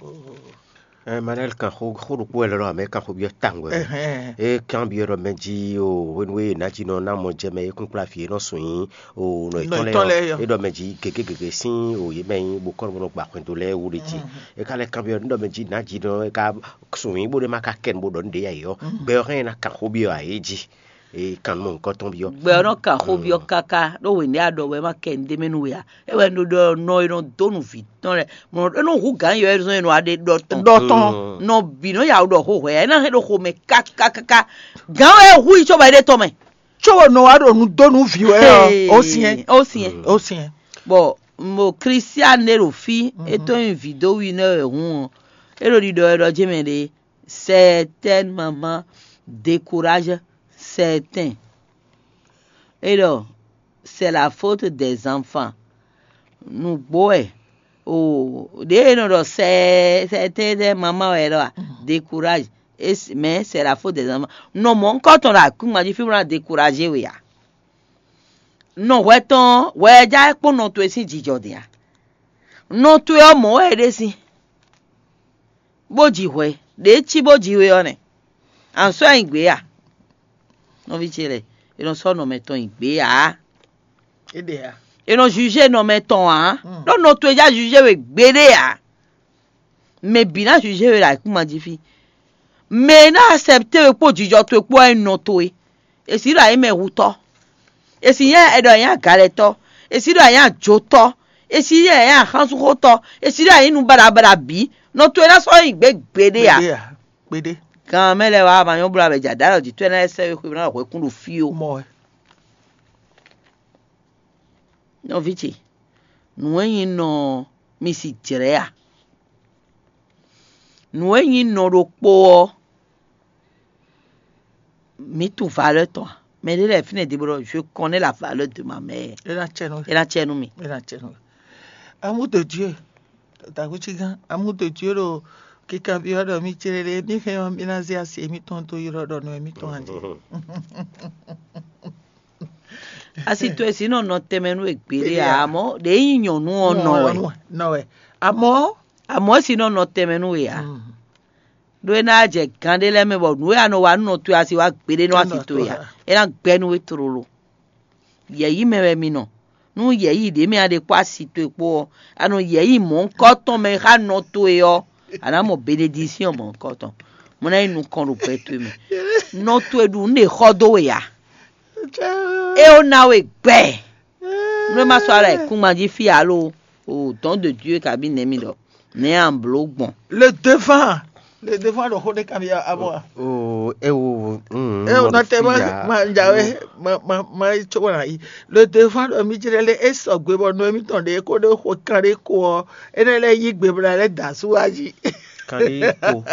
Ɛ Manɛ́ kan xó xó ɖokpó wɛ lɛ́ ɖɔ amɛ kan xó byɔ́ tawun wɛ. Ɛhɛn. É kanbyɔ́ ɖɔ mɛ jí o hwenu e nǎjínɔ ná mɔ jɛ mɛ é kún kplá vǐ e nɔ sún nyí o nɔ Nɔ yětɔn lɛ́ɛ yětɔn lɛ́ɛ ɔ́ ɔ́. É ɖɔ mɛ jí gěgé gěgé sín o yě mɛ nyí bó kɔ́ nɔ gbà xwɛndo lɛ́ɛ wú ɖé jí. É ka lɛ́ kanbyɔ́ ɖɔ mɛ jí nǎjínɔ é ka sún nyí bó ɖé má ka kɛ nu bó ɖɔ nǔ ɖé yá yě ɔ́. Gbɛ ɔ́ hɛn ná kan xó byɔ́ ǎ é jí. Kan nɔ mɔ nǔkɔntɔn byɔ́. Gbɛ ɔ́ nɔ kan xó byɔ́ káká ɖó hwěndé a ɖɔ wɛ é má kɛ nǔɖé mɛ nú we ǎ. É wɛ un ɖo ɖɔ nɔ e nɔ dó nu vǐ tɔn lɛ́ɛ, mɔ é nɔ hu gǎn yɔ é zɔ́n e nɔ wá ɖe ɖɔ tɔn. Ɖɔ tɔn. Nɔ bǐ nɔ ya wǔ ɖɔ xó hwɛ ǎ, é ná hɛn ɖo xomɛ kákákáká. Gǎn wɛ hu yi cóbɔ é ɖe tɔn mɛ. Có nɔ wá ɖo nu dó nú vǐ wɛ ɔ́, ó syɛn. Ó syɛn. Ó syɛn. Bɔ mo Christian ɖé ɖo fí, é tɔn nyi vǐ dó wi nɛ wɛ hun ɔ́, é ɖo ɖiɖɔ wɛ ɖɔ jɛ́n mɛ ɖě. Certaines mamans découragent certains. Et donc, c'est la faute des enfants. Nǔgbó wɛ o ɖě e nɔ ɖɔ sɛ sɛtɛ́ mamá wɛ ɖɔ a décourage. Mais c'est la faute des enfants. Nɔ mɔ̌ un kɔ tɔn ɖo akúngban jí fí bó ná découragé we ǎ. Nɔ hwɛ tɔn hwɛ ɛ já kpɔ́n nɔ towe sín jijɔ din a? Nɔ towe ɔ́ mɔ̌ wɛ é ɖe sín. Bó ji hwɛ, ɖě cí bó ji we ɔ́ nɛ́. An sɔ́ nyi gbě a? Nɔví ce lɛ́ɛ, è nɔ sɔ́ nɔ mɛtɔn nyi gbě ǎ. É ɖe ǎ. È nɔ jugé nɔ mɛtɔn ǎ. Ɖó nɔ towe já jugé we gbeɖé ǎ. Mɛ bǐ ná jugé we ɖo ayǐkúngban jí fí. Mɛ e ná accepté we kpó jijɔ towe kpó wɛ nyí nɔ towe. È sǐ ɖɔ a nyǐ mɛhutɔ́. È sǐ nyí ɛ ɖɔ a nyǐ agalɛtɔ́. È sǐ ɖɔ a nyǐ ajotɔ́. È sǐ nyí ɛ nyǐ axánsúnxótɔ́. È sǐ ɖɔ a nyǐ nu baɖabaɖa bǐ. Nɔ towe ná sɔ́ nyi gbě gbeɖé ǎ. Gbeɖé ǎ. Gbeɖé. Gan mɛ lɛ́ɛ wá ma nyɔ́ bló abɛ jɛ aɖǎ ɖɔ jǐ tɔ́ ɛ ná lɛ́ sɛ́ we xwé ná xwɛ̌ kún ɖo fí ó. Mɔ wɛ. Nɔví ce, nǔ e nyí nɔ mi si jlɛ̌ a? Nǔ e nyí nɔ ɖokpó ɔ́, mǐ tunwun valeur tɔn a? Mɛ ɖé lɛ́ɛ fínɛ́ ɖě bó ɖɔ je connais la valeur de ma mère. É ná cɛ nú É ná cɛ nú mì. É ná cɛ nú. Amour de Dieu, dǎgbécígán, amour de Dieu ɖo kikanbyɔ́ ɖɔ mì céɖéɖé, mì hɛn ɔ́, mì ná zé asi mǐtɔn dó ylɔ́ ɖɔ nɔ mǐtɔn a jí. Asi towe si nɔ nɔ tɛnmɛ nú we gbeɖé ǎ, amɔ̌ ɖě nyí nyɔ̌nu ɔ́ nɔ wɛ. Nɔ wɛ. Amɔ̌ Amɔ̌ si nɔ nɔ tɛnmɛ nú we ǎ. Ɖó é ná jɛ gán ɖé lɛ́ɛ mɛ bɔ nǔ e a nɔ wa nú nɔ towe a si wá gbeɖé nɔ asi towe ǎ. É ná gbɛ́ nú we tlóló. Yɛ̌yí mɛ wɛ mi nɔ. Nú yɛ̌yí ɖě mɛ a ɖe kpó asi towe kpó ɔ́, a nɔ yɛ̌yí mɔ̌hunkɔtɔn mɛ xá nɔ towe ɔ́, a nǎ mɔ benedisíɔn mɔ̌hunkɔtɔn. Mo ná yi nukɔn ɖo gbɛ towe mɛ. Nɔ towe ɖu nǔ ɖe xɔ dó we ǎ. É ó ná we gbɛ. Nú é má sɔ́ alɔ ayǐkúngban jí fí alo o dɔ̌n de Dieu kabí nɛ̌ mi ɖɔ nɛ̌ a blǒ gbɔn. Le devant, le devant ɖo xó ɖé kanbyɔ́ abɔ a? Oo, é wo mm, É o nɔ te ma ma jawe ma ma ma yi tso wala yi. Le devant ɖɔ mi jlɛ lé é sɔgbe bɔ nɔ émítɔn ɖe kó ɖe xo kan ɖé ko ɔ, énɛ́ lɛ́ yí gbe bla lɛ́ da sú wá jí. Kan ɖé ko.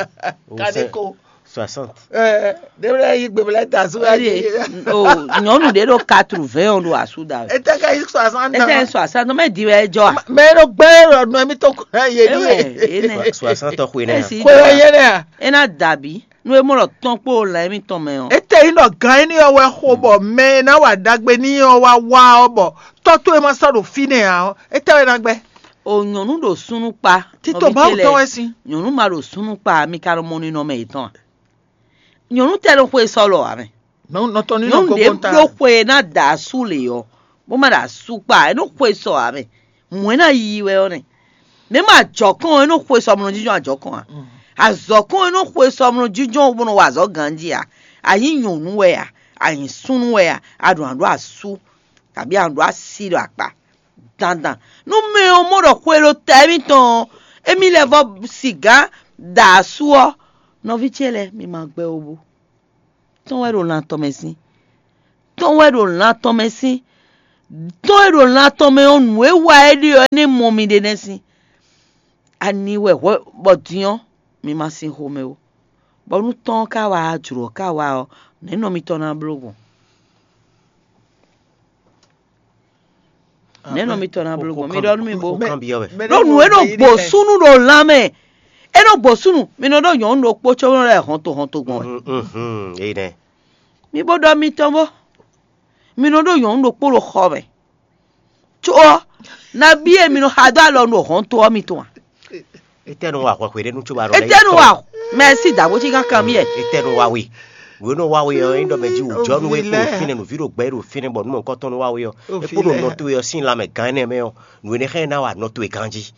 Kan ɖé ko. Soixante. Ɛɛ ɖe bla yí gbe bla da sú wá jí. O nyɔnu ɖe ɖo quatre-vingts ɔn ɖo asu da. Ete ka yi soixante. Ete soixante mɛ di wɛ jɔ a? Mɛ ɖo gbɛ ɖɔ nɔ émítɔn kura yé ni. Ewɛ ene. Soixante xwe nɛ. Xwe yé nɛ a? Ena dabi. Nú e mɔ ɖɔ tɔn kpó lɛ̌ mitɔn mɛ ɔ́. Étɛ́ nyí ɖɔ gǎn énɛ́ ɔ́ wɛ xo bɔ mɛ e ná wa ɖagbe n'i ɔ́ wá wá ɔ́ bɔ tɔ́ towe ma sɔ́ ɖo fínɛ́ ǎ ɔ́, étɛ́ wɛ ná gbɛ́? O nyɔ̌nu ɖo súnnu kpa. Tito Mawu tɔn wɛ sín. Nyɔ̌nu ma ɖo súnnu kpa mi ka nɔ mɔ ninɔmɛ yětɔn a? Nyɔ̌nu tɛ ɖo xwe sɔ́ lɔ ǎ mɛ. Nɔ nɔ tɔn ní nɔ Nyɔ̌nu ɖě gogo ta. Ɖó xwe e ná da asú lě ɔ́, bó má ɖo asú kpa, é nɔ xwe sɔ ǎ mɛ. Mɔ̌ é ná yiyi wɛ ɔ́ nɛ. Mɛ ma jɔ̌ kɔn ɔ́, é nɔ xwe sɔ mlɔ jínjɔ́n ajɔ̌ kɔn ǎ. Azɔ̌ kɔn ɔ́, é nɔ xwe sɔ mlɔ jínjɔ́n bó nɔ wa azɔ̌ ganjí ǎ. A nyǐ nyɔ̌nu wɛ a? A nyǐ súnnu wɛ a? A ɖo nǎ ɖó asú, kabí a nǎ ɖó asi ɖo akpa dandan. Nú mɛ ɔ́ mɔ ɖɔ xwe ɖo ta émítɔn ɔ́, émí lɛ́ vɔ́ sigǎn da asú ɔ́, nɔví ce lɛ́ɛ, mi ma gbɛ ó bú. tɔ́n wɛ ɖo lan tɔn mɛ sín. Tɔ́n wɛ ɖo lan tɔn mɛ sín. Tɔ́n e ɖo lan tɔn mɛ ɔ́, nǔ e wa é ɖe ɔ́, é nɛ́ mɔ mi ɖe nɛ́ sín. Ani wɛ hwɛ bɔ din ɔ́, mi ma sin xomɛ ó. Bɔ nú tɔ́n ɔ́ ka wá, jlǒ ɔ́ ka wá ɔ́, nɛ̌ nɔ mitɔn ná bló gbɔn? Nɛ̌ nɔ mitɔn ná bló gbɔn? Mi ɖɔ nú mi bó. Ɖó nǔ e nɔ gbǒ súnnu ɖo lan mɛ, é nɔ gbǒ súnnu. Mi nɔ ɖó nyɔ̌nu ɖokpó có nɔ lɛ́ hɔnto hɔnto gbɔn wɛ. Énɛ́. Mi bó ɖɔ mitɔn bó. Mi nɔ ɖó nyɔ̌nu ɖokpó ɖo xɔ mɛ. Có ɔ́, nabí e mi nɔ xa dó alɔ nú hɔnto ɔ́ mitɔn a? Etɛ́ nɔ wa hwɛhwɛ ɖé nú cóbá nɔ lɛ́ Etɛ́ nɔ wa mɛ sí dǎgbó cí kankan mì ɛ. Etɛ́ nɔ wa we. Wě nɔ wa we ɔ́, é ɖɔ mɛ jí wǔjɔnú e kpo ɖo fínɛ́, nǔví ɖo gbɛ e ɖo fínɛ́, bɔ nú mɔ̌hunkɔtɔn nɔ wa we ɔ́, é kpo ɖo nɔ towe ɔ́ sín lanmɛ gán énɛ́ mɛ ɔ́, nǔ énɛ́ xá ɛ ná wa nɔ towe ganjí.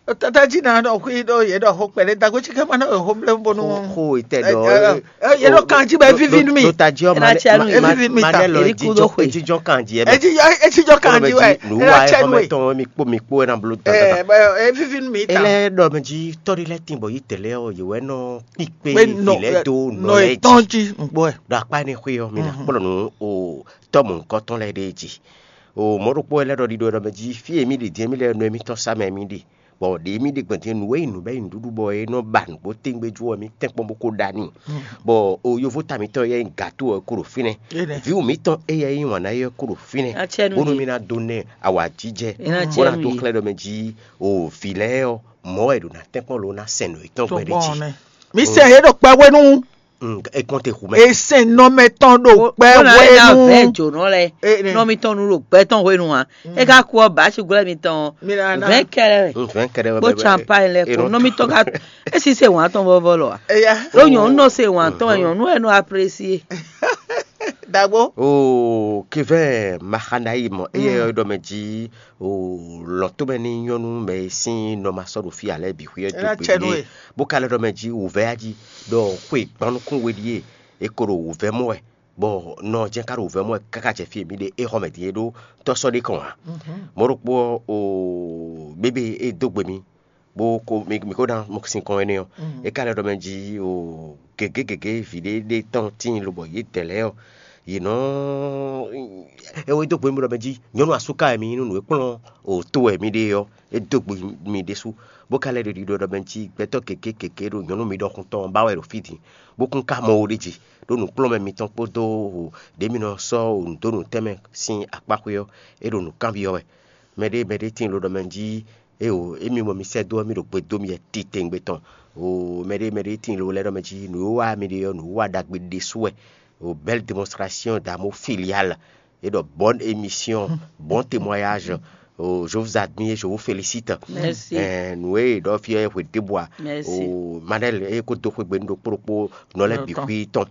Tata jí ná ɖɔ xwí ɖó yě ɖɔ xó kpɛɖé dagbo cí kɛ́ má ná xó blé bónú. Xó etɛ́ ɖɔ Ɛ, yě ɖo kan jí bɔ é víví nú mì. Ɖo ta jí ɔ́, É ná cɛ nú yě. Manɛ lɔ Èyí kú dó xwe. Ejijɔ kan jí ɛ mɛ. Etijɔ kan jí wɛ. Nǔ É wa ná ɛ cɛ nú xɔmɛ yé. Tɔn mi kpo mi kpo ɛ ná bló É, dandan. Bɔ é víví nú mì ta. Ele ɖɔ mɛ jí tɔ́ ɖé lɛ́ɛ tín bɔ yí tɛlɛ ɔ́, yě wɛ nɔ kpíkpé Pé nɔ- vǐ lɛ́ɛ dó nɔ nɔ lɛ́ɛ jí. Etɔn jí ngbɔ ɛ. Ɖo akpá énɛ́ xwé ɔ́, mi ná kplɔ́ nǔ o tɔ́ mɔ̌hunkɔtɔn lɛ́ɛ ɖée jí. O mɔ̌ ɖokpó wɛ lɛ́ ɖɔ ɖiɖɔ ɖɔ mɛ jí fí e mì ɖe din e mì lɛ́ nɔ e mì tɔn sá mɛ mì ɖe. Bɔ ɖě mì ɖe gbɔn din nǔ e nyí nǔ bɛ́ nyi nǔɖuɖu bɔ é nɔ ba nǔgbó tɛ́ngbé jú ɔ́, mì tɛ́nkpɔ́n bó kó ɖa n'i. Bɔ o yovó ta mǐtɔn yɛ nyí gǎto ɔ́ kó ɖo fínɛ́. Vǐwǔ mǐtɔn éyɛ́ nyí wǎn ná yɛ kó ɖo fínɛ́. Bónú mì ná dó nɛ awǎjijɛ, bó ná dó xlɛ́ ɖɔ mɛ jí o vǐ lɛ́ɛ ɔ́, mɔ̌ wɛ è ɖo ná tɛ́nkpɔ́n lǒ ná sɛn nǔ yětɔn gbɛɖe jí. Mi sɛ yě ɖo kpɛ hwenu. Mm, é kɔn te xu mɛ. È sɛn nɔmɛ tɔn ɖo kpɛ hwenu. Vɛ̌ jǒnɔ lɛ́ɛ, nɔ mitɔn nu ɖo gbɛ tɔn hwenu ǎ. É ka kú ɔ́, bǎ sigwlɛ́ mitɔn ɔ́, vɛ̌ kɛlɛ wɛ. Mm, vɛ̌ kɛlɛ wɛ. Bó bɛbɛ. Champagne lɛ́ɛ kpo nɔ mitɔn ka é si se wǎn tɔn vɔvɔ lɔ ǎ. Eya. Ɖó nyɔ̌nu nɔ se wǎn tɔn wɛ, nyɔ̌nu wɛ nɔ apprécier. Dagbo. O kevɛ maxanayi mɔ eye yɔ ɖɔ mɛ jí o lɔn tó mɛ ní nyɔ́nu mɛ e sín nɔ ma sɔ́ ɖo fí ǎ lɛ́ɛ bǐ xwí ɔ́ dó gbe ɖíe. Bó ka lɛ́ ɖɔ mɛ jí wǔvɛ́ yá jí ɖɔ xwe gbannukún we ɖíe è ko ɖo wǔvɛ́ mɔ wɛ, bɔ nɔ jɛ́n ka ɖo wǔvɛ́ mɔ wɛ káká jɛ fí e mǐ ɖe é xɔ mɛ din é ɖó tɔ́sɔ́ ɖé kɔn ǎ. Mɔ̌ ɖokpó ɔ́, o bébé e dó gbe mì bó ko mì mì ko ná mɔ sin kɔn énɛ́ ɔ́, é ka lɛ́ ɖɔ mɛ jí o gěgé gěgé vǐ ɖé ɖé tɔn tíin lobɔ yě dɛ lɛ́ɛ ɔ́, yě nɔ é wɛ dó gbe mì ɖɔ mɛ jí nyɔ̌nu asúká wɛ mi nyí nú nǔ e kplɔ́n o tó wɛ mi ɖe ɔ́, é dó gbe mi ɖésú, bó ka lɛ́ ɖo ɖiɖɔ ɖɔ mɛ jí gbɛtɔ́ gěgé gěgé ɖo nyɔ̌nu mi ɖɔkun tɔn ba wɛ ɖo fí din, bó kún ka mɔ wo ɖé jí, ɖó nǔkplɔ́nmɛ mitɔn kpódó o ɖě mi nɔ sɔ́ o nǔ dó nǔ tɛnmɛ sín akpáxwé ɔ́, é ɖo nǔ kanbyɔ́ wɛ. Mɛɖé mɛɖé tíin lo ɖɔ mɛ jí éeǒ, émi mɔ mi sɛ́ dó ɔ́, mì ɖo gbe dó mi wɛ titewungbe tɔn. O mɛɖé mɛɖé tíin lo lɛ́ ɖɔ mɛ jí nǔwiwa mi ɖe ɔ́, nǔwiwa ɖagbe ɖésú wɛ. O belle démonstration d'amour filial. É ɖɔ bonne émission, bon témoignage. O je vous admire, je vous félicite. Merci. Ɛɛ, nǔ e ɖɔ fí ɔ́ hwe ɖěbǔ a? Merci. O Manel e ko dó xwé gbe nú ɖokpó ɖokpó nɔ lɛ́ bǐ xwí tɔn.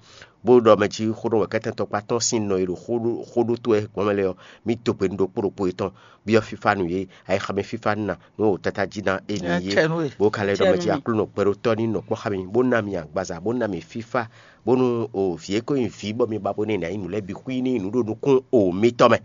Bó ɖɔ mɛ jí xó ɖɔ wɛ kɛ́tɛ́ntɔ́ kpá tɔn sín nɔ e ɖo xó ɖó xó ɖó tó wɛ gbɔn mɛ lɛ́ɛ ɔ́, mì dó gbe nú ɖokpó ɖokpó yětɔn, byɔ́ fífá nú yě, ayixa mɛ fífá nú ná, nú o tata jí ná é ní yé. Bó ka lɛ́ ɖɔ mɛ jí Aklúnɔ gbɛɖótɔ́ ní nɔ kpɔ́ xá mi, bó ná mi agbaza, bó ná mi fífá, bónú o vǐ e ko nyí vǐ bɔ mi ba bó ná ná nyí nǔ lɛ́ɛ bǐ xwí ní nǔ ɖo nukún o mitɔn mɛ.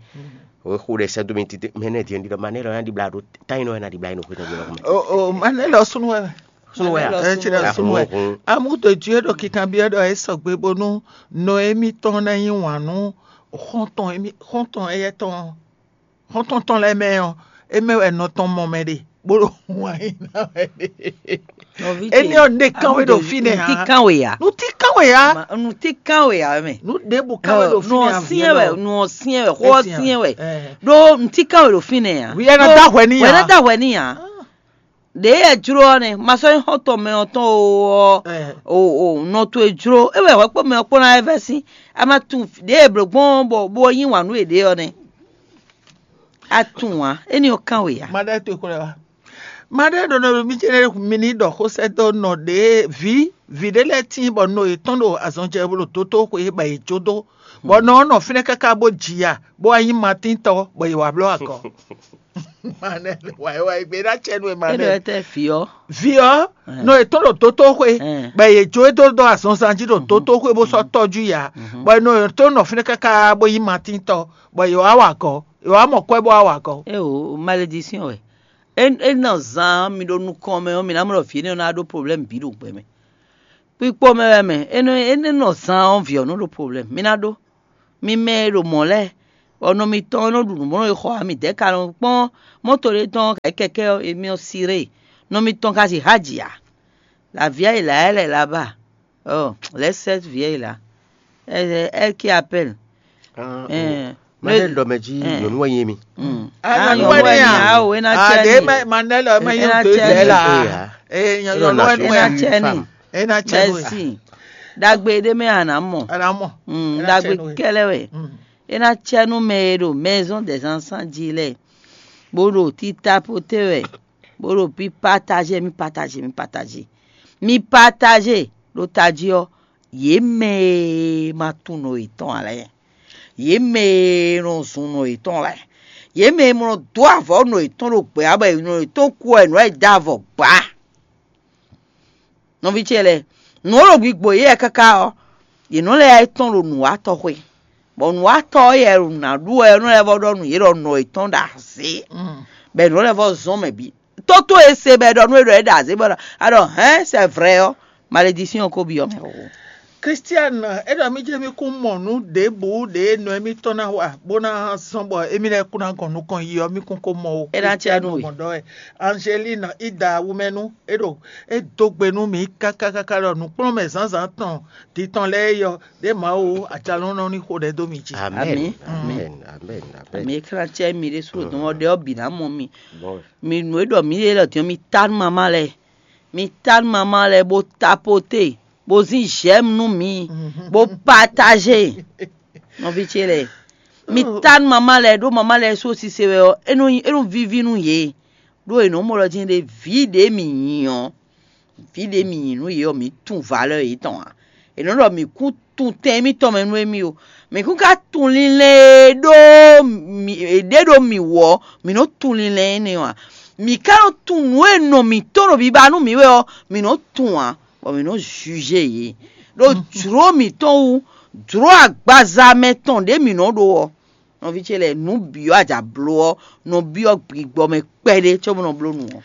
O xó ɖe sɛ́ dó mi tití mɛ nɛ́ din ɖiɖɔ ma nɛ́ lɔ ná ɖibla ɖo tá nyí nɔ wɛ ná ɖibla nyí nɔ xwé tɔn jí lɔ mɛ. O o ma nɛ́ lɔ súnú wɛ. Súnú wɛ a? Ɛ tsi ɖe súnú wɛ. Amúdo jú é ɖo kikanbyɔ́ ɖɔ é sɔgbe bónú nɔ émítɔn ná nyí wǎn nú xɔ́ntɔn émí xɔ́ntɔn éyɛ́ tɔn xɔ́ntɔn tɔn lɛ́ɛ mɛ ɔ́, é mɛ wɛ nɔ tɔn mɔ mɛ ɖe bó ɖo wǎn yí ná wɛ ɖe. Éní ɔ́, nǔɖé kánwé ɖo fínɛ́ ǎ. Nǔtí kánwé ǎ. Nǔtí kánwé ǎ. Nǔtí kánwé ǎ mɛ. Nǔ ɖěbǔ kánwé ɖo fínɛ́ ǎ. Nǔ ɔ́ syɛ́n wɛ, nǔ ɔ́ syɛ́n wɛ, xó ɔ́ syɛ́n wɛ. Ɖó nǔtí kánwé ɖo fínɛ́ ǎ. Wǐ ɛ ná dó ahwɛ n'i ǎ. Wǐ ɛ ná dó ahwɛ n'i ǎ. Ɖě e jló ɔ́ nɛ́, ma sɔ́ nyí xɔ́ntɔn mɛ ɔ́ tɔn o ɔ́, o o nɔ towe jló, é wɛ hwɛ kpó mɛ ɔ́ kpó ná wɛ vɛ́ sín. A ma tunwun ɖě e blǒ gbɔn ɔ́ bɔ bó nyí wǎn nú yěɖée ɔ́ nɛ́. A tunwun ǎ, éní ɔ́ kán we ǎ. Ma ɖɔ to xwlɛ wa. Ma ɖɔ ɖɔ nɔ mi jɛ mi ní ɖɔ xó sɛ́ dó nɔ ɖě vǐ vǐ ɖé lɛ́ɛ tíin bɔ nɔ yětɔn ɖo azɔn jɛ bó ɖo dótó xwe bɔ yě jó dó. Bɔ nɔ ɔ́ nɔ fínɛ́ káká bó ji ya, bó wá nyí matíntɔ́, bɔ yě wá bló agɔ. Manɛ wayé wayé gbé ná cɛ nú ɛ manɛ. Éɖɔ tɛ fi ɔ. Vi ɔ, nɔ yě tɔn ɖo dótó xwe, bɔ yě jó é dó dó azɔnzan jí ɖo dótó xwe bó sɔ́ tɔ́jú yě ǎ. Bɔ nɔ yě tɔn nɔ fínɛ́ káká bó nyí matíntɔ́, bɔ yě wá wa gɔ̌, yě wá mɔ kwɛ́ bó wá wa gɔ̌. É o malédiction wɛ. É é nɔ zan mi ɖo nukɔn mɛ ɔ́, mi ná mɔ ɖɔ vǐ énɛ́ ɔ́ ná ɖó problème bǐ ɖo gbɛ mɛ. Kpikpo mɛ wɛ mɛ, é nɔ é nɔ zan ɔ́ vǐ ɔ́ nɔ ɖo problème. Mi ná ɖó. Mi mɛ e ɖo mɔ̌ lɛ́ɛ, bɔ nɔ mitɔn e nɔ ɖu nǔ bó nɔ yi xɔ ǎ, midɛɛ ka nɔ kpɔ́n mɔ̌to ɖé tɔn ɔ́, kɛkɛ́ ɔ́, émí ɔ́ siré. Nɔ mitɔn ka sixá jǐ ǎ. La vieille là, elle est là-bas. Oh, laisse cette vieille là. Elle, elle qui appelle. Ah, eh, ma ne ɖɔ mɛ jí nyɔ̌nu wɛ nyí mi. Ah, nyɔ̌nu wɛ ní a? Awo, é ná cɛ ní. Manel ma nyɔ̌nu tó zɛ la. Eh, nyɔ̌nu wɛ ní a? É ná cɛ ní. É ná cɛ ní. Merci. Ɖagbe ɖé mɛ a nǎ mɔ. A nǎ mɔ. Mm, ɖagbe kɛlɛ wɛ. É ná cɛ nú mɛ e ɖo maison des enfants jí lɛ́ɛ, bó ɖo tita poté wɛ, bó ɖo bí partager, mi partager, mi partager. Mi partager ɖo tají ɔ́, yě mɛ e ma tunwun nɔ yětɔn ǎ lɛ́ɛ, yě mɛ e nɔ zun nɔ yětɔn lɛ́ɛ, yě mɛ e nɔ dó avɔ nɔ yětɔn ɖo gbɛ̌ ǎ, bɔ nɔ yětɔn kú wɛ nǔ lɛ́ɛ dó avɔ gbǎ. Nɔví ce lɛ́ɛ, nǔ e ɖo gbigbo yě wɛ káká ɔ́, yě nɔ lɛ́ yá yi tɔ́n ɖo nǔwatɔ́ xwé, bɔ nǔwatɔ́ ɔ́ yɛ ɖo nǎ ɖu wɛ ɔ́ nɔ lɛ́ vɔ́ ɖɔ nú yě ɖɔ nɔ yětɔn ɖo azě, bɔ è nɔ lɛ́ vɔ́ zɔ́n mɛ bǐ. Tótó e se bɔ è ɖɔ nú é ɖɔ é ɖo azě bɔ a ɖɔ hɛ̌n, c'est vrai ɔ́, malédiction ko byɔ́ mɛ o. Christian, é ɖɔ mì jɛ mì kún mɔ nǔ ɖěbǔ ɖě nɔ émítɔn ná wa bó ná zɔ́n bɔ émí lɛ́ɛ kún ná gɔn nukɔn yi ɔ́, mì kún ko mɔ o. É ná cɛ nú we. Mɔ ɖɔ wɛ. Angeline, Ida wumɛnu, é ɖo é dó gbe nú mì káká káká ɖɔ nǔkplɔ́nmɛ zǎnzǎn tɔn din tɔn lɛ́ɛ é yɔ ɖě Mawu ajalɔ́nɔ ní xo ɖɛ dó mi jí. Amɛn. Amɛn. Amɛn. Amɛn. Amɛn. Amɛn. Ami e kla cɛ mi ɖésú ɖo dɔn ɔ́ ɖe ɔ́ bǐ ná mɔ mi. Bɔ Mi nǔ e ɖɔ mǐ ɖe lɔ din ɔ́, mi ta nú mama lɛ́ɛ. Mi ta nú mama lɛ́ɛ bó tapote, bó zín j'aime nú mǐ, bó partager. Nɔví ce lɛ́ɛ, mi ta nú mama lɛ́ɛ ɖó mama lɛ́ɛ sú sise wɛ ɔ́, é nɔ nyí é nɔ víví nú yě. Ɖó è nɔ mɔ ɖɔ jɛ́n ɖé vǐ ɖě mǐ nyí ɔ́, vǐ ɖě mǐ nyí nú yě ɔ́, mǐ tunwun valeur yětɔn ǎ. È nɔ ɖɔ mǐ kún tunwun tɛn émítɔn mɛ nú émí o. Mǐ kún ka tunwun linlɛn e ɖó mǐ- è ɖě ɖó mǐ wú ɔ́, mǐ nɔ tunwun linlɛn énɛ́ ɔ́ ǎ. Mǐ ka nɔ tunwun nǔ e nɔ mǐtɔn ɖo biba nú mǐ wɛ ɔ́, mǐ nɔ tunwun ǎ, bɔ mǐ nɔ juger yě. Ɖó jlǒ mǐtɔn wú, jlǒ agbaza mɛ tɔn ɖě mǐ nɔ ɖó ɔ́, nɔví ce lɛ́ɛ, nǔ bǐ ɔ́ a ja bló ɔ́, nɔ byɔ́ gbigbɔ mɛ kpɛɖé cóbɔ nɔ bló nǔ ɔ́.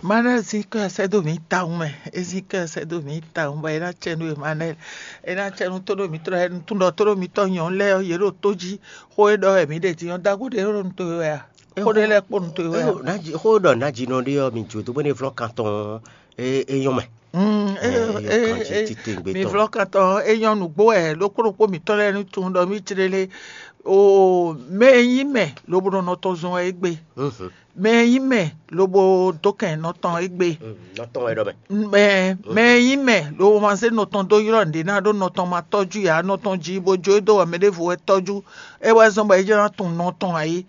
Mana zin kɔ sɛ́ dó mǐ tawun mɛ, é zin kɔ sɛ́ dó mǐ tawun bɔ é ná cɛ nú Emmanuel, é ná cɛ nú tóɖó mǐtɔn lɛ́ɛ, nú tún ɖɔ tóɖó mǐtɔn nyɔ̌nu lɛ́ɛ ɔ́, yě ɖo tó jí. Xó e ɖɔ wɛ mǐ ɖe din ɔ́, dó agó ɖě ɖo nǔ towe wɛ a? Xó ɖé lɛ́ɛ kpó nǔ towe wɛ a? Xó ɖɔ nǎjínɔ ɖé ɔ́, mi jǒ dó bó ní vlɔ́ kan tɔn ɔ́, é é nyɔ́ mɛ. Mm, Ɛ, é- é yɔ é- kan jí é- titewungbe Mi tɔn. Vlɔ́ kan tɔn ɔ́, é nyɔ́ nǔgbó wɛ ɖokpó ɖokpó mǐtɔn lɛ́ɛ ní tunwun ɖɔ mí jlé lé. O mɛ e nyí mɛ lobo nɔ nɔ tɔn zɔn wɛ é gbe. Mhm. Mɛ e nyí mɛ lobo dó kɛn nɔ tɔn é gbe. Mm, nɔ tɔn wɛ ɖɔ mɛ. Mɛ mɛ e nyí mɛ lobo ma zé nɔ tɔn dó ylɔ́ nǔɖé ná ɖó nɔ tɔn ma tɔ́jú ǎ, nɔ tɔn jí bó jó é dó wɛ mɛ ɖěvo wɛ tɔ́jú. É wɛ zɔ́n bɔ é jló ná tunwun nɔ tɔn ǎ é.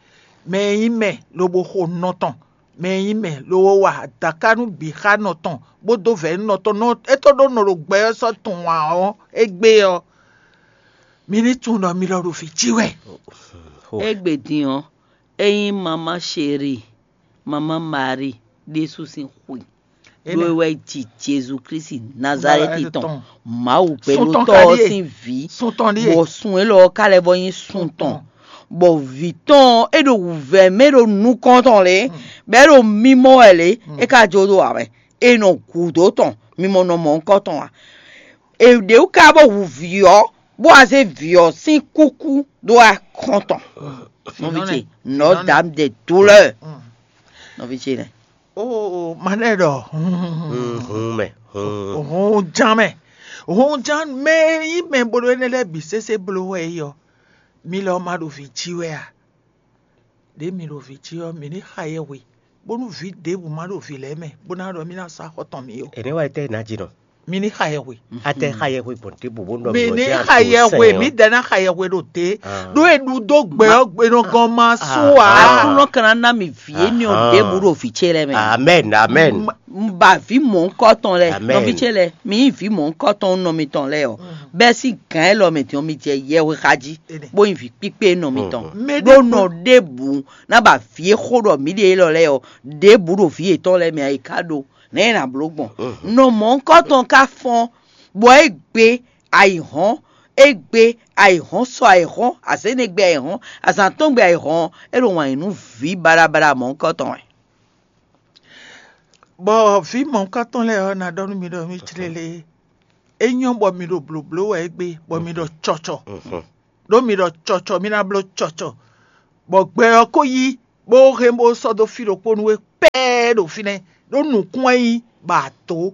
Mɛ e nyí mɛ lobo xo nɔ tɔn, mɛ e nyí mɛ lobo wa adaká nú bǐ xá nɔ tɔn, bó dó vɛ̌ nú nɔ tɔn nɔ é tó ɖó nɔ ɖo gbɛ ɔ́ sɔ́ tunwun ǎ ɔ́, égbé ɔ́, mi ní tunwun ɖɔ mi lɔ ɖo vǐ cí wɛ. Xo. Égbé din ɔ́, é nyí mamá Chéri, mamá Marie ɖésú sín xwe. Ɖó é wɛ ji Jezu Klísu Nazalɛ́ti tɔn, Mawu gbɛɖótɔ́ ɔ́ sín vǐ, bɔ sun élɔ́ ɔ́ ka lɛ́ vɔ nyí sun tɔn, bɔ vǐ tɔn ɔ́, é ɖo wǔvɛ́ mɛ ɖo nukɔn tɔn lě, bɔ é ɖo mimɔ wɛ lě, é ka jó ɖo ǎ wɛ. È nɔ gǔdo tɔn, mi mɔ nɔ mɔ ŋkɔ tɔn ǎ. È ɖě wú ka bó hu vǐ ɔ́, bó wá zé vǐ ɔ́ sín kúkú dó wá kɔn tɔn. Nɔví ce, nɔ dǎ de douleur. Nɔví ce nɛ. Oo, ma ɖɛ ɖɔ. Hun mɛ. Hun ján mɛ. Hun ján mɛ e nyí mɛ bó ɖó énɛ́ lɛ́ɛ bǐ sésé bló wɛ é ɔ́, mi lɔ ma ɖo vǐ jí wɛ a? Ɖě mi ɖo vǐ jí ɔ́, mi ní xa yɛhwe, bónú vǐ ɖěbǔ ma ɖo vǐ lɛ́ɛ mɛ, bó ná ɖɔ mì ná sá xɔ tɔn mì ó. È nɛ́ wá yi tɛ́ nǎ jí nɔ. Mi ní xa yɛhwe. A tɛ xa yɛhwe gbɔn ɖěbǔ bó nɔ. Mi ní xa yɛhwe, mi dɛ ná xa yɛhwe ɖo dě. Ɖó e ɖu dó gbɛ ɔ́, gbe nɔ gɔn ma sú ǎ. Aklúnɔ ka ná ná mi vǐ énɛ́ ɔ́ ɖěbǔ ɖo vǐ ce lɛ́ɛ mɛ. Amen, amen. Un ba vǐ mɔ̌hunkɔtɔn lɛ́ɛ, nɔví ce lɛ́ɛ, mi nyí vǐ mɔ̌hunkɔtɔn nɔ mitɔn lɛ́ɛ ɔ́, bɛ́ sín gǎn élɔ́ mɛ din ɔ́, mi jɛ yɛhwe xa jí, bó nyí vǐ kpíkpé nɔ mitɔn. Ɖó nɔ ɖěbǔ ná ba vǐ e xó ɖɔ mǐ ɖe élɔ́ lɛ́ɛ ɔ́, ɖěbǔ ɖo vǐ yětɔn lɛ́ɛ mɛ ǎ, è ká ɖó nɛ̌ è nǎ bló gbɔn. Nɔ mɔ̌hunkɔtɔn ka fɔ́n, bɔ é gbé ayǐhɔ́n, é gbé ayǐhɔ́n sɔ ayǐhɔ́n, azěnɛgbé ayǐhɔ́n, azǎn tɔn gbé ayǐhɔ́n, é ɖo wǎn yí nú vǐ baɖabaɖa mɔ̌hunkɔtɔn wɛ. Bɔ vǐ mɔ̌hunkɔtɔn lɛ́ɛ ɔ́, ná ɖɔ nú mi ɖɔ mì clélé, É nyɔ́ bɔ mi ɖo blǒbló wɛ égbé, bɔ mi ɖɔ cɔcɔ. Ɖó mi ɖɔ cɔcɔ, mi ná bló cɔcɔ. Bɔ gbɛ ɔ́ ko yí, bó hɛn bó sɔ́ dó fí ɖokpó nú we pɛ́ɛ́ ɖo fínɛ́, ɖó nǔkún wɛ nyí bɔ a dǒ.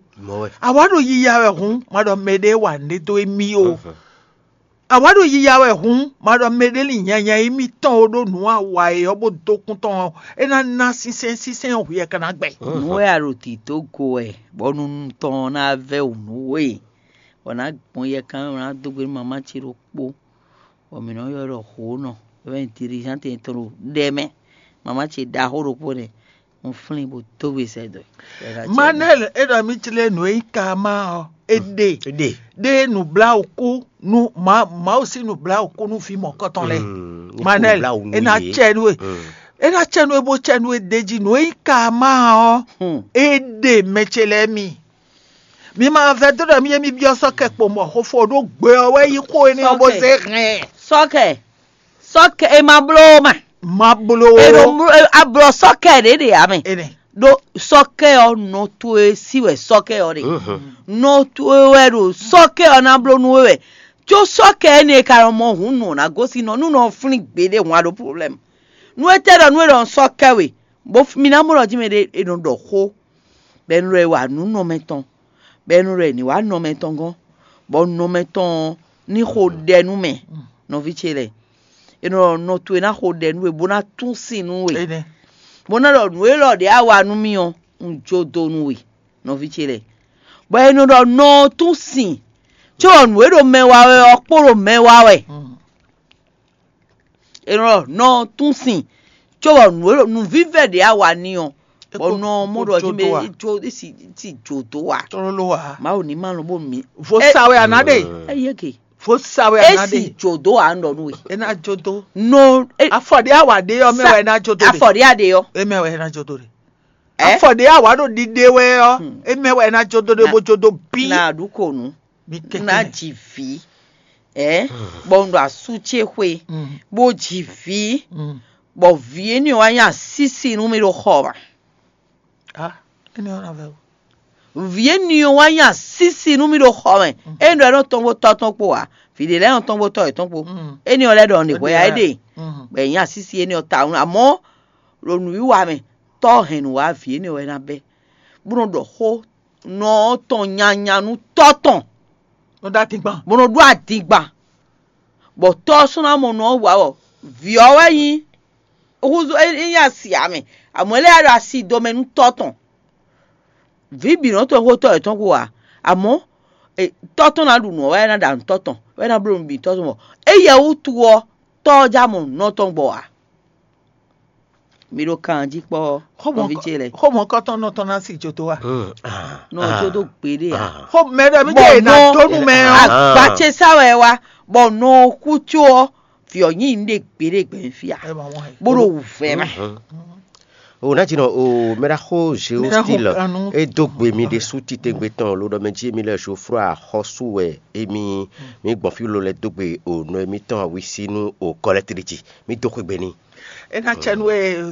Awǎ ɖo yiya wɛ hǔn, ma ɖɔ mɛɖé wa nǔɖé dó émí ó. Awǎ ɖo yiya wɛ hǔn, ma ɖɔ mɛɖé lin nyanya émítɔn ó, ɖó nǔ awa e ɔ́ bó dó kún tɔn ɔ́, é ná ná sínsɛ́n, sínsɛ́n ɔ́ hwi ɛ ka ná gbɛ. Nǔ e a ɖo tǐ dó go wɛ, bɔ nunu tɔn ɔ́ ná vɛ́ wǔ nú we, bɔ nǎ gbɔn yɛ kan, bɔ nǎ dó gbe nú mamá ce ɖokpó, bɔ mǐ nɔ́ ylɔ́ ɖɔ hǒnɔ, é wɛ nyí dirizán tɛn tɔn ɖo ɖɛ mɛ. Mamá ce ɖaxó ɖokpó nɛ́, un flín bó dó we sɛ́ dó. Manɛ́l é ɖɔ mì jlé nǔ e nyí karma ɔ́, é ɖe. Ɖe. Ɖe nǔbláwǔkú nú Mawu sín nǔbláwǔkú nú vǐ mɔ̌kɔtɔn lɛ́ɛ. Manɛ́l é ná cɛ nú we. É ná cɛ nú we bó cɛ nú we d'é jí. Nǔ e nyí karma ɔ́, é ɖe mɛ ce lɛ́ɛ mi. Mi ma vɛdó ɖɔ mi yé mi byɔ́ sɔ́ kɛ kpo mɔ xófó ɖó gbe ɔ́ wɛ yí xó énɛ́ ɔ́ bó zé hɛn. Sɔ́kɛ, sɔ́kɛ e ma bló mɛ. Ma bló. E ɖo mló e- a blɔ sɔ́kɛ ɖě ɖe ǎ mɛ. Enɛ. Ɖó sɔ́kɛ ɔ́ nɔ towe sí wɛ sɔ́kɛ ɔ́ ɖe. Nɔ towe wɛ ɖo sɔ́kɛ ɔ́ ná bló nú we wɛ. Có sɔ́kɛ énɛ́ e ka nɔ mɔ hǔn nɔ ná gosín nɔ nú nɔ flín gbeɖé hǔn a ɖó problème. Nú é tɛ ɖɔ nú é ɖɔ sɔ́kɛ we, bó mi ná mɔ ɖɔ jí mɛ ɖé è nɔ ɖɔ xó, bɔ è nɔ ɖɔ è wa nǔ nɔ mɛ tɔn, bɔ è nɔ ɖɔ è ní wá nɔ mɛ tɔn gɔ́n, bɔ nɔ mɛ tɔn ɔ́ ní xo ɖɛ nú mɛ, nɔví ce lɛ́ɛ. È nɔ ɖɔ nɔ towe ná xo ɖɛ nú we, bó ná tún sin nú we, bó ná ɖɔ nǔ élɔ́ ɖě a wa nú mì ɔ́, un jó dó nú we, nɔví ce lɛ́ɛ. Bɔ è nɔ ɖɔ nɔ ɔ́ tún sin, có nǔ e ɖo mɛ wa wɛ ɔ́ kpo ɖo mɛ wa wɛ. È nɔ ɖɔ nɔ ɔ́ tún sin, có bɔ nǔ e ɖo nǔvívɛ́ ɖě a wa n'i ɔ́, bɔ nɔ ɔ́ mɔ ɖɔ jí mɛ é jó é si é si jǒ dó wa. Tlóló wa. Mawu ní ma lɔn bó mi. Vo sa wɛ a nǎ ɖe. Eye ke. Vo sa wɛ a nǎ ɖe. É si jǒ dó wa ń ɖɔ nú we. É ná jó dó. Nɔ é Afɔ ɖé a wà ɖé ɔ́ mɛ wɛ é ná jó dó ɖe. Afɔ ɖé a ɖe ɔ́. É mɛ wɛ é ná jó dó ɖe. Ɛ? Afɔ ɖé a wà ɖo ɖiɖe wɛ ɔ́. É mɛ wɛ é ná jó dó ɖe bó jó dó bí. Na ɖu ko nu. Bí kɛkɛ. Na ji vǐ. Ɛ? Bɔ un ɖo asú ce xwe. Bó ji vǐ. Bɔ vǐ énɛ́ wá nyí asísi nú mì ɖo xɔ mɛ. Ah, énɛ́ ɔ́ ná vɛ o. Vǐ énɛ́ ɔ́ wá nyí asísi nú mì ɖo xɔ mɛ. É ɖɔ é nɔ tɔn kpó tɔ́ tɔn kpó ǎ. Vǐ ɖé lɛ́ɛ nɔ tɔn kpó tɔ́ yětɔn kpó. Énɛ́ ɔ́ lɛ́ ɖɔ nǐ hwɛ ya é ɖe. Bɔ è nyí asísi énɛ́ ɔ́ tawun. Amɔ̌ ɖo nǔwiwa mɛ, tɔ́ hɛn nǔ wá vǐ énɛ́ ɔ́ wɛ ná bɛ́, bó nɔ ɖɔ xó nɔ ɔ́ tɔn nyanya nú tɔ́ tɔn, Nɔ ɖó adingban. Bó nɔ ɖó adingban, bɔ tɔ́ ɔ́ sɔ́ ná mɔ nɔ ɔ́ wǎ ɔ́, vǐ ɔ́ wɛ nyí húzú é nyí asi ǎ mɛ, amɔ̌ é lɛ́ ɖo asi do mɛ nú tɔ́ tɔn. Vǐ bǐ nɔ tɔn xó tɔ́ yětɔn xó ǎ, amɔ̌ tɔ́ tɔn ná ɖu nǔ ɔ́ wɛ é ná ɖa nǔ tɔ́ tɔn, wɛ é ná bló nǔ bǐ tɔ́ tɔn mɔ. Éyɛ́ wútu ɔ́, tɔ́ ɔ́ já mɔ nǔ nɔ tɔn gbɔ ǎ. Mi ɖo kan jí kpɔ́, nɔví ce lɛ́ɛ. Xó mɔ̌kɔtɔn nɔ tɔn ná si jo dó wa. Nɔ jo dó gbeɖé ǎ. Xó mɛ ɖɔ mi ɖe na dó nu mɛ ɔ́. Agba ce sá wɛ wá, bɔ nɔ kú tso ɔ́, vǐ ɔ́ nyi nǔɖé gbeɖé gbɛ̌ fí ǎ. Bó ɖo wǔvɛ́ mɛ. O ná jinɔ o mɛɖaxó Géostil e dó gbe mi ɖésú titewungbe tɔn lo ɖɔ mɛ jí mi lɛ Geoffroy axɔ́sú wɛ emi mi gbɔn fí lo lɛ dó gbe o nɔ emitɔn awisí nú o kɔlɛtri jí mi dó xwegbe n'i. É ná cɛ nú we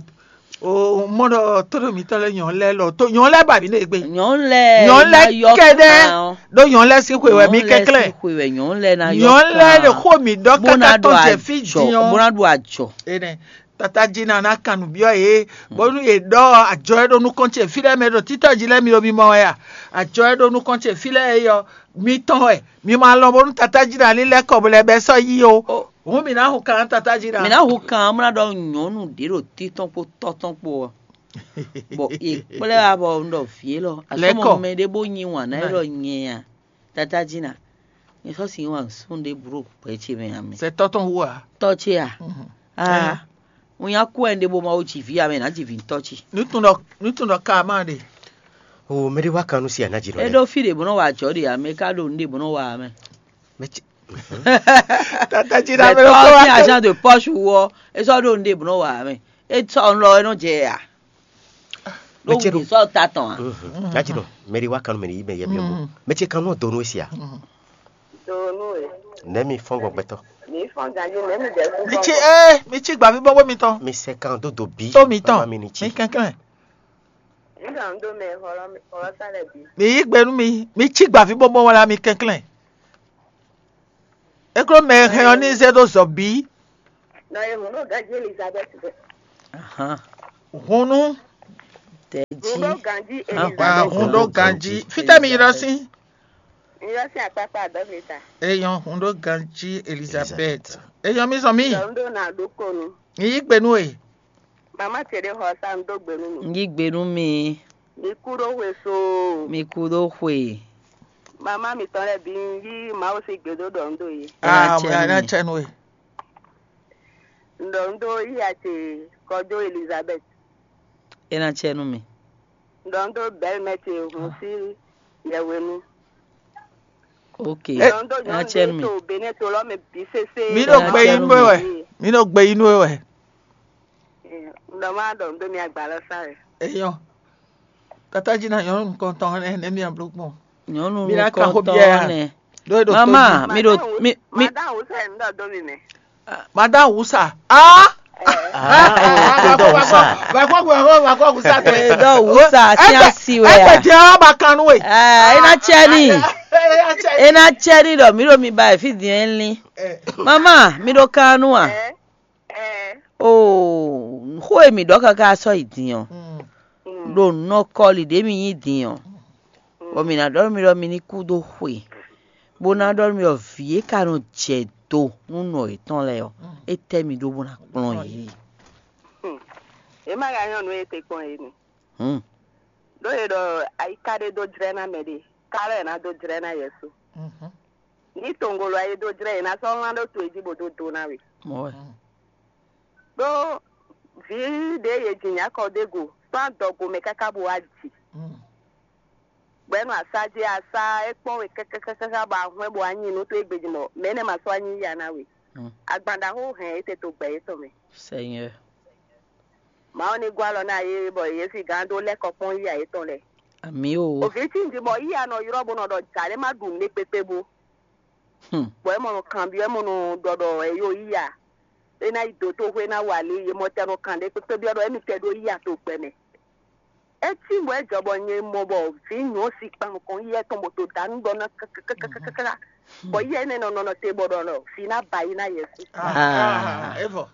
o mɔ ɖɔ tóɖo mǐtɔn lɛ́ɛ nyɔ̌nu lɛ́ɛ lɔ tó nyɔ̌nu lɛ́ɛ ba mǐ ɖe gbe. Nyɔ̌nu lɛ́ɛ nyɔ̌nu lɛ́ɛ kɛ́ɖɛ́ ɖó nyɔ̌nu lɛ́ɛ sín xwe wɛ mí kɛnklɛ́n. Xwe wɛ nyɔ̌nu lɛ́ɛ ná yɔ nyɔ̌nu lɛ́ɛ ɖo xó mǐ ɖɔ káká tɔn jɛ fí din ɔ́. Bó ná ɖo ajɔ. Énɛ́ tata jí ná ná kan nǔ byɔ́ yě bónú yě ɖɔ ajɔ e ɖo nukɔn ce fí lɛ́ɛ mɛ ɖo títɔ́ jí lɛ́ɛ mi ɖo mimɔ wɛ a? Ajɔ e ɖo nukɔn ce fí lɛ́ɛ é yɔ mi tɔn wɛ. Mi ma lɔn bónú tata jí ná lílɛ́ kɔ bó lɛ́ bɛ́ sɔ́ yí o. Hǔn mǐ ná hun kan tata jí ná. Mǐ ná hun kan mlá ɖɔ nyɔ̌nu ɖě ɖo títɔn kpó tɔ́tɔn kpó ɔ́, bɔ è kplé wá bɔ un ɖɔ vǐ élɔ́ asɔmɔ mɛ ɖé bó nyi wǎn ná é ɖɔ nyɛ a? Tata jí ná. Nyɛ sɔ́ sin wǎn sún ɖé bro gbɛ ce mɛ ǎ mɛ. Sɛ tɔ́ tɔn wú a? Tɔ́ ce a? Aa, un nya kú ɛn ɖé bó ma wó ji vǐ ǎ mɛ ná ji vǐ tɔ́ ce. Nutun ɖɔ nutun ɖɔ ka ma ɖe. O mɛ ɖé wá kan nú si àná jǐ nɔ. É ɖó fí ɖě bó nɔ wa ajɔ̌ ɖe ǎ mɛ ká ɖo nǔɖé bó nɔ wa ǎ mɛ. Mɛ ce Tata jí ɖa mɛ lɔ kó wá. Agent de poche wɔ é sɔ ɖo nɖe bnɔ wa mɛ é sɔ lɔ é nɔ jɛ ya. Mɛ ce ɖo sɔ ta tɔn a. Gati nɔ mɛ ɖi wa kanu mɛ ɖi yi mɛ yɛ mɛ mo mɛ ce kanu donu esi a. Donu e. Nɛ mi fɔn gbɔgbɛtɔ. Mi fɔn ganji nɛ mi dɛ fún. Mi ci ee mi ci gbavi bɔbɔ mi tɔn. Mi sɛ kan do do bi. To mi tɔn mi kɛkɛ. Nígbà ń dó mɛ xɔlɔ́ xɔlɔ́ sá lɛ bǐ. Mi yí gbe nú mi, mi cí gbǎví bóbó wlá mi kɛnklɛ́n. É kló mɛ e hɛn ɔ́ ní zé ɖó zɔ bǐ. Nɔ e hun ɖó ganjí Elizabeth bɛ. Ahan. Hun nú Tɛjí. Hun ɖó ganjí Ahan. Elizabeth. Hun ɖó ganjí. Fítɛ́ mi ylɔ́ sín? Mi ylɔ́ sín akpákpá adɔ́ mi ta. Eyɔn hun ɖó ganjí Elizabeth. Eyɔn mi zɔn mí. Nɔ ń dó nà ɖó konu. Mi yí gbe nú e. Mama ce ɖé xɔ sá ń dó gbe nú mi. Yí gbe nú mi. Mi kú ɖó xwe so. Mi kú ɖó xwe. Mama mitɔn lɛ́ɛ bǐ ń yí Mawu sín gbe dó ɖɔ ń dó yé. Ena Ah, cɛ nú ana mi. Cɛ nú e. Ɖɔ ń dó yí a ce kɔjó Elizabeth. Ena cɛ nú mi. Ɖɔ ń dó bɛ́lmɛ ce hun sí yɛhwenu. Ok. Ɖɔ ń dó Ena nyɔ̌nu cɛ nú ɖé mi. To Benin to lɔ mɛ bǐ sésé. Mi ɖo Ena gbe cɛ yí nú nú mi. E wɛ. Mi ɖo gbe yí nú e wɛ. Ɖɔ má ɖɔ ń dó mi agba lɔ sá wɛ. Eyɔn. Tata jí na nyɔ̌nu nukɔntɔn nɛ nɛ mi abló kpɔn. Nyɔnu Mi ná ka xó nukɔntɔn biɛ ya. Nɛ. Ɖó e ɖo tó Mama, jí. Mi ɖo mi mi Madame Hussein ń dɔ dó mi mɛ. Madame Wusa. Ah! Ah, oh, tó dɔ Wusa. Vàkọ́ vàkọ́ vàkọ́ Wusa tẹ. Tó dɔ Wusa, Ẹ sí gbẹ- àsì wẹ̀ ẹ gbẹ à. Jẹ́ ọ́ bá kanú wẹ̀. Ah, ena cɛ ni. Ena cɛ ni ɖɔ mi ɖo mi ba efi din ɛ lin. Mama, mi ɖo kanú à. Ɛ ɛ. Oh, xó e mi ɖɔ kaka sɔ yi din ɔ. Ɖo nɔ kɔli ɖě mi nyi din ɔ. Bɔ mi ná ɖɔ nú mi ɖɔ mi ní kú dó xwe, bó ná ɖɔ nú mi ɖɔ vǐ e ka nɔ jɛ do nú nɔ yětɔn lɛ́ɛ ɔ́, é tɛ́ mi ɖó bó ná kplɔ́n yě. Yě má ka nyɔ́ nǔ e te kpɔn yě nɛ. Hmm. Ɖó e ɖɔ ayiká ɖé dó jlɛ́ ná mɛ ɖé, ká lɛ́ ná dó jlɛ́ ná Yɛsu. Ní tongolo ayé dó jlɛ́ yě ná sɔ́ wlán ɖó to e jí bó dó do ná we. Mɔ̌ wɛ. Ɖó vǐ ɖě yě ji nyǎkɔ ɖé go sɔ́ adɔgo mɛ káká bó wá ji. Bɔ é nɔ asá jí asá é kpɔ́n we kákákáká bɔ ahwɛ́n bɔ a nyi nǔ tó égbé jí mɔ mɛ énɛ́ ma sɔ́ anyí ya ná we. Agban ɖaxó hɛn é te to gbɛ yětɔn mɛ. Seigneur. Mawu ní gɔ́ alɔ ná yé bɔ yě si gán dó lɛ́ kɔ kpɔ́n yíya yětɔn lɛ́ɛ. Ami o. Òfin tí ń jí bɔ yíya nɔ ylɔ́ bó nɔ ɖɔ jà lé má ɖu nǔ ɖé kpékpé bó. Hmm. Bɔ é mɔ nɔ kanbyɔ́ é mɔ nɔ ɖɔ ɖɔ ɛ yó yíya. É ná yi dǒ tó xwé ná wa lě yě mɔ tɛ nɔ kan ɖé kpékpé byɔ́ ɖɔ émi tɛ ɖó yíya to gbɛ mɛ. É cí bɔ é jɔ bɔ nyɛ mɔ bɔ vǐ nyɔ̌ si kpan nukɔn yíyá tɔn bɔ to dǎ nú ɖɔ ná kákákákáká. Bɔ yíyá énɛ́ nɔ nɔ te bɔ ɖɔ lɔ vǐ ná ba yi ná Yɛsu. Ah, evɔ.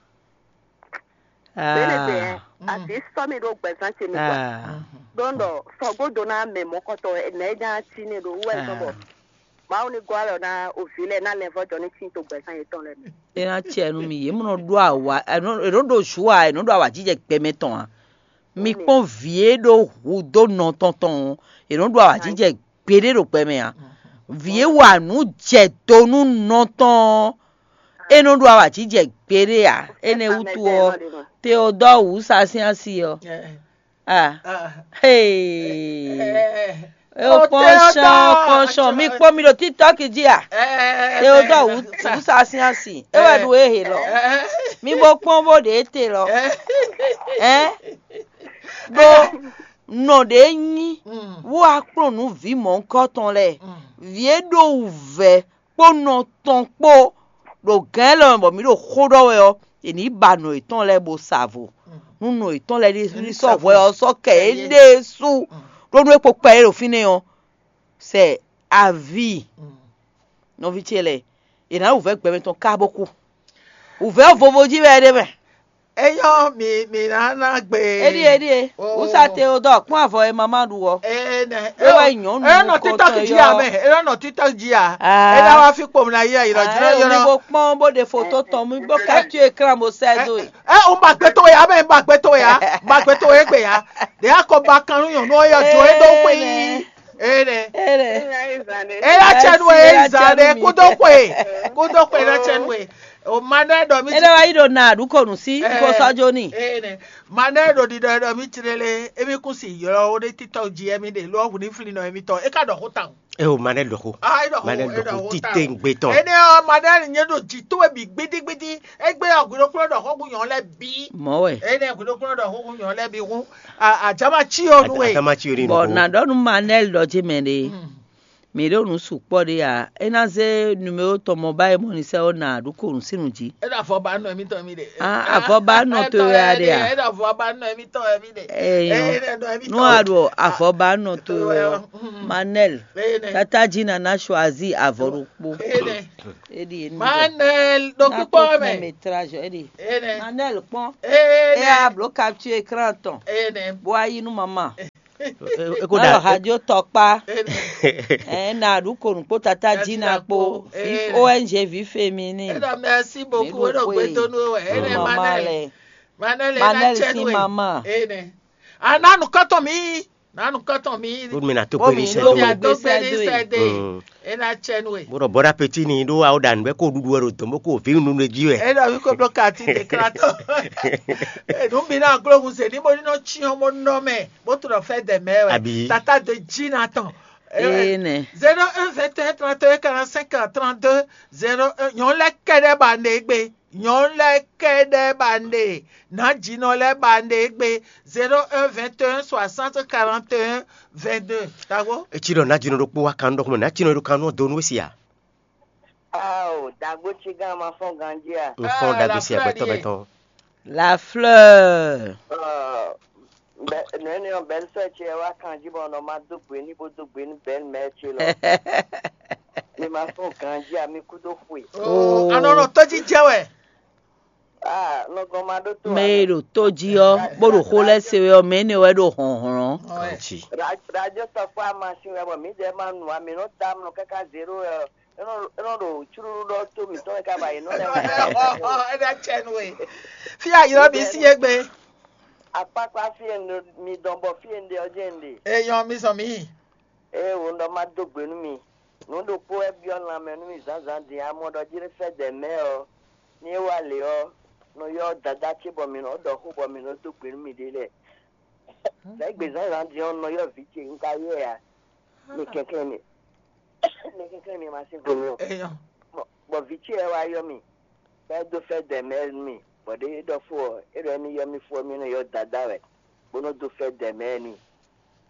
Bɛnɛ bɛ Ah. Asi sɔ mi ɖo gbɛzán ce mi kɔ. Ah. Ɖɔn ɖɔ sɔgódo ná mɛ mɔkɔtɔ nɛ é nya cí ne ɖo wú wɛ zɔn bɔ Mawu ní gɔ́ alɔ ná òvǐ lɛ́ɛ ná lɛ́ vɔ́ jɔ ní tín to gbɛzán yětɔn lɛ́ɛ mɛ. É ná cɛ nú mi yě mɔ nɔ ɖó awa è nɔ ɖó ɖo zǔ a è nɔ ɖó awǎjijɛ gbɛmɛ tɔn a mi kpɔ́n vǐ e ɖó hu dó nɔ tɔn tɔn ɔ́ è nɔ ɖó awǎjijɛ gbeɖé ɖo gbɛmɛ a vǐ e wa nǔ jɛ do nú nɔ tɔn ɔ́ é nɔ ɖó awǎjijɛ gbeɖé a énɛ́ wútu ɔ́ Teodɔ́ wǔ sa sín asi ɔ́ Ah, hey. Ó kpɔ́n sɔn, ó kpɔ́n sɔn. Mi kpɔ́n mi ɖo TikTok jí a? Teodɔ wǔsa sín asi. É wɛ ɖu é he lɔ. Mi bo kpɔ́n bó ɖe é te lɔ. Ɛ? Ɖó nɔ ɖě nyí wú akplɔ́nǔ vǐ mɔ̌hunkɔtɔn lɛ́ɛ. Vǐ e ɖó wǔvɛ́ kpó nɔ tɔn kpó ɖo gǎn élɔ́ mɛ bɔ mǐ ɖo xó ɖɔ wɛ ɔ́, è nǐ ba nɔ yětɔn lɛ́ɛ bó sa vo. Nú nɔ yětɔn lɛ́ɛ ɖésú ní sɔ́ hwɛ ɔ́ sɔ́ kɛ yě ɖésú ɖó nú é kpo kpɛ é ɖo fínɛ́ ɔ́, sɛ aví nɔví ce lɛ́ɛ, è nǎ wǔvɛ́ gbɛmɛ tɔn ká bó kú. Wǔvɛ́ vovo jí wɛ é ɖe mɛ. É nyɔ́ mi mi ná ná gbe. Éɖíe éɖíe. Wúsa Teodɔ kpɔ́n avɔ e mama ɖu ɔ́. Énɛ́. É wɛ nyɔ̌nu É nɔ nukɔntɔn títɔ́ jí yɔ. A mɛ. É nɔ títɔ́ jí a. Ah. É ná wá fí kpom ná yí ayǐ lɔ jlɔ́ Ah, jlɔ́. Mi bo kpɔ́n bó ɖe foto tɔn mi bó capture écran bó sɛ dó e. Ɛ o ma gbé tó ya mɛ ma gbé tó ya ma gbé tó e gbé ya. Ɖe akɔ ba kan nú nyɔ̌nu ɔ́ yɔ jɔ é ɖó xwe yí. Énɛ́. Énɛ́. Énɛ́. Éya cɛ nú e Éya zan cɛ nú ɖe mi. Kúdó xwe kúdó xwe ná cɛ nú e. O ma nɛ ɖɔ mi. Éɖe wá yi ɖo na ɖu kɔnu sí kó sɔjó ni. Ee nɛ. Ma nɛ ɖo ɖiɖɔ ɖɔ mi tlele emi kún si ylɔ wo ɖe titɔ ji emi ɖe lɔ hu ni fli nɔ emi tɔ e ka ɖɔ xó tawun. E o ma nɛ ɖɔ xó. Ah, e ɖɔ xó, ma nɛ e ɖɔ ɖɔ xó xó tawun. Tite ŋgbe tɔn. Ene ɔ ma nɛ nye ɖo ji to ebi gbidigbidi egbe ɔ gwiɖo kplɔ ɖɔ xó gu nyɔ lɛ bi. Mɔ wɛ. Ene gwiɖo kplɔ ɖɔ xó gu nyɔ lɛ bi hu. Ajama tsi o nu e. Ajama tsi o ni nu. Bɔn na ɖɔ nu ma nɛ lɔ ji mɛ ɖe. Mǐ ɖo nǔ sukpɔ́ ɖé ǎ. É ná zé numéro tɔn mɔ ba e mɔ ni sɛ́ ɔ́ nǎ ɖu ko nǔ sín nǔ jí. É ɖo avɔ ba nɔ émítɔn mì ɖe. Ah, avɔ ba nɔ to wɛ a ɖe a? É ɖo avɔ ba nɔ émítɔn wɛ mì ɖe. Eyɔn. Nú a ɖo avɔ ba nɔ to wɛ ɔ́, Manel, tata jí nana choisi avɔ ɖokpó. Éɖi é ní jɛ. Manel ɖo kpíkpɔ́ mɛ. Métrage éɖi. Manel kpɔn. Éɖi. É a bló capture écran tɔn. Éɖi. Bó a yí nú mama. E ko Nɔ da hajo tɔkpa. Ɛ na ɖu ko nukpo tata jí na kpo. Vive O N G vi féminin. Éɖɔ merci beaucoup. Éɖɔ gbé tó nú wɛ. Éɖɔ mama lɛ. Manel Manel si mama. Éɖɔ. Ana nukɔtɔ mi. Na nukɔtɔ mi. Ɖo mi na to Bó kpe mi ní ɖo sɛ do. Gbé sɛ do. Gbé sɛ do. Mm. Ena tsɛ nú we. Bó ɖɔ bɔɖa peti ni ɖó awo ɖa nǔgbɛ kó ɖuɖu wɛ ɖo dɔn bó kó vǐ nunu ɖe jí wɛ. Eɖɔ mi ko bló kati ɖe klatɔ. Enu mi na glo hun se ni mo ni nɔ tsyɔn mo nɔ mɛ bó to ɖɔ fɛ dɛ mɛ wɛ. Abi. Tata de jí na tɔn. Ee nɛ. Zéro un vingt et un trente et un quarante-cinq trente-deux zéro un nyɔnu lɛ kɛɖɛ ba ne gbe. Nyɔnu lɛ kɛɖɛ ba ne. Nǎjínɔ lɛ ba ne gbe. Zéro un vingt et un soixante quarante et un vingt-deux. Tago. Etsi ɖɔ nǎjínɔ ɖokpó wá kan ɖɔ xɔmɛ nǎjínɔ ɖo kan nɔ do nú esi a? Ao, dagbo ci gán ma fɔn ganji a? N fɔn dagbo si agbɛtɔ bɛtɔn. La fleur. Nɛni ɔ bɛn sɛ ce wá kan jí bɔ nɔ ma dó gbe ní bó dó gbe ní bɛn mɛ ce lɔ. Mi ma fɔn ganji a mi kú dó xwe. Oh, anɔ nɔ tɔjí jɛ wɛ. Ah, nɔ gɔn ma ɖó tó. Mɛ e ɖo tó jí ɔ́, bó ɖo xó lɛ́ se wɛ ɔ́, mɛ énɛ́ wɛ ɖo hlɔ̌nhlɔ́n. Kanci. Radio tɔkpɔ amasin wɛ bɔ mǐdɛɛ ma nu ami nɔ da nɔ káká zero wɛ ɔ́. É nɔ é nɔ ɖo cúɖúɖú ɖɔ tó mǐtɔn wɛ ká ba yi nɔ lɛ́ wá. Ɔ́ ɔ́ ɔ́ é ná cɛ nú we. Fí aylɔ́ mi sí égbé. Akpákpá fí e mi dɔn bɔ fí e un ɖe ɔ́ jẹ́ un ɖe. Eyɔn mi zɔn mǐ. Ée wǒ ɖɔ má dó gbe nú mi. Nǔ ɖokpó wɛ byɔ́ lanmɛ nú mi zǎnzǎn din amɔ ɖɔ jí sɛ́ dɛ mɛ ɔ́, ní é wá lě ɔ́, nɔ ylɔ́ dadá ce bɔ mǐ nɔ ɖɔ xó bɔ mǐ nɔ dó gbe nú miɖée lɛ́ɛ. Lɛ̌ gbe zǎnzǎn din ɔ́, nɔ ylɔ́ vǐ ce un ka ylɔ́ ɛ ǎ. Mi kɛnklɛ́n mi. Mi kɛnklɛ́n mi ma sín go mi o. Bɔ vǐ ce wɛ wá ylɔ́ mi. Bɔ é dó fɛ́ dɛ mɛ nú mì, bɔ ɖěe é ɖɔ fó ɔ́, é ɖɔ émí ylɔ́ mì fó ɔ́, mì nɔ ylɔ́ dadá wɛ, bó nɔ́ dó fɛ́ dɛ mɛ n'i.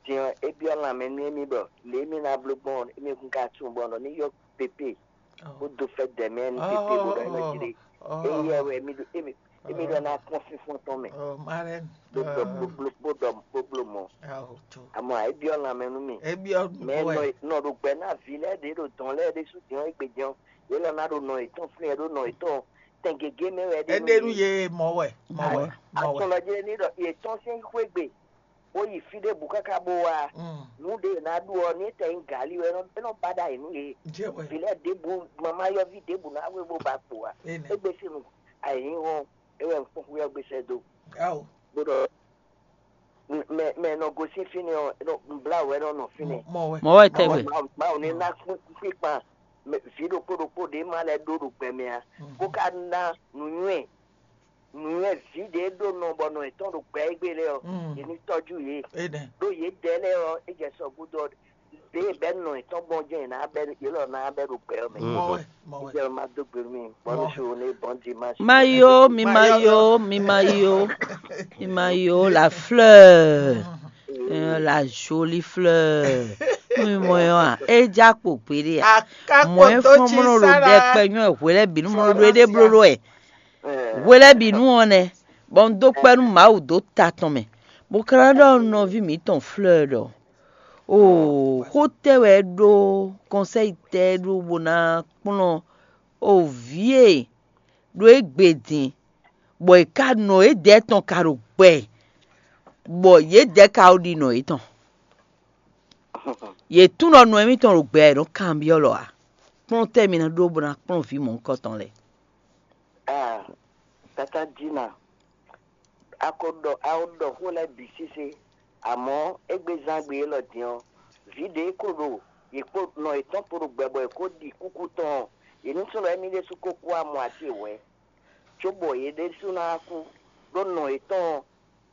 Din ɔ́, é byɔ́ lanmɛ nú émí ɖɔ lě e mì ná bló gbɔn ɔ́, émí kún ka tunwun bɔ un ɖɔ ní ylɔ́ Pépé, bó dó fɛ́ dɛ mɛ nú Pépé bó ɖɔ é nɔ jlé. Éyɛ́ wɛ émí ɖɔ émí émí ɖɔ ná kpɔ́n fínfɔ́n tɔn mɛ, bó ɖɔ bó bó bó ɖɔ bó bló mɔ̌. Amɔ é byɔ́ lanmɛ nú mì. Mɛ nɔ nɔ ɖo gbɛ ná vǐ lɛ́ɛ ɖě ɖo dɔ̌n lɛ́ɛ ɖésú din ɔ́ égbé din ɔ́, yě lɔ ná ɖo nɔ yětɔn flín ɛ ɖó nɔ yětɔn tɛn gěgé mɛ wɛ é ɖe nú yě. Mɔ̌ wɛ, mɔ̌ wɛ, mɔ̌ wɛ. Atɔn lɔ jɛ́n ní ɖɔ yě tɔ́n sín xwé gbe, bó yi fí ɖěbǔ káká bó wá. Nǔ ɖě è nǎ ɖu ɔ́, ní é tɛ nyí gǎlí wɛ, é nɔ ba ɖ'ayǐ nú yě. Vǐ lɛ́ɛ ɖěbǔ, mamá yɔ́ví ɖěbǔ ná wé bó ba kpo ǎ. Égbé sín nu ayǐhɔ́n é wɛ un kpɔ́n xwé ɔ́ gbé sɛ́ dó. Bó ɖɔ mɛ mɛ nɔ gosín fínɛ́ ɔ́, un blá wɛ nɔ nɔ fínɛ́. Mɔ̌ wɛ tɛgbɛ. Mawu ní ná kpíkpan vǐ ɖokpó ɖokpó ɖě ma lɛ́ ɖó ɖo gbɛ mɛ ǎ, bó ka ná nǔnywɛ́ nǔnywɛ́ vǐ ɖě ɖó nɔ bɔ nɔ yětɔn ɖo gbɛ égbé lɛ́ɛ ɔ́, yě ní tɔ́jú yě. Ɖó yědɛɛ lɛ́ɛ ɔ́, é jɛ sɔ gúdo ɔ́, ɖě bɛ́ nɔ yětɔn gbɔn jɛ́n yě ná bɛ́ yě lɔ ná bɛ́ ɖo gbɛ ɔ́ mɛ. Mɔ̌ wɛ, mɔ̌ wɛ. Jɛ ma dó gbe nú mi, bɔ́ nú xwe wo ní bɔ́n di ma. Mayo, mi mayo, mi mayo, mi mayo, la fleur, euh, la jolie fleur. Mi mɔ yɔ a, e ja kpo gbeɖe a. Mɔ e fɔn mɔ ɖo ɖɛkpɛ nyɔ hwelɛ binu mɔ ɖo ɖe blo ɖo ɛ. Hwelɛ binu ɔ nɛ, bɔ un dó kpɛ nú Mawu dó ta tɔn mɛ. Bó ka ná ɖɔ nɔví mǐtɔn fleur ɖɔ, o xó tɛ wɛ é ɖó, kɔnsɛyi tɛ é ɖó bó ná kplɔ́n o vǐ e ɖo égbé din, bɔ è ka nɔ yědɛɛ tɔn ka ɖo gbɛ, bɔ yědɛɛ ka ɖo ɖi nɔ yětɔn. Yě tunwun ɖɔ nɔ émítɔn ɖo gbɛ ɛ nɔ kanbyɔ́ lɔ ǎ. Kplɔ́n tɛ́ mi ná ɖó bó ná kplɔ́n vǐ mɔ̌hunkɔtɔn lɛ́ɛ? Aa, tata Dina, a ko ɖɔ a ko ɖɔ xó lɛ́ɛ bǐ sésé, amɔ̌ égbé zán gbe élɔ́ din ɔ́, vǐ ɖě ko ɖo yě kpó nɔ yětɔn kpó ɖo gbɛ bɔ è ko ɖi kúkú tɔn ɔ́, yě ní sú ɖɔ émí ɖésú ko kú amɔ ati hwɛ̌, cóbɔ yě ɖésú ná kú, ɖó nɔ yětɔn ɔ́,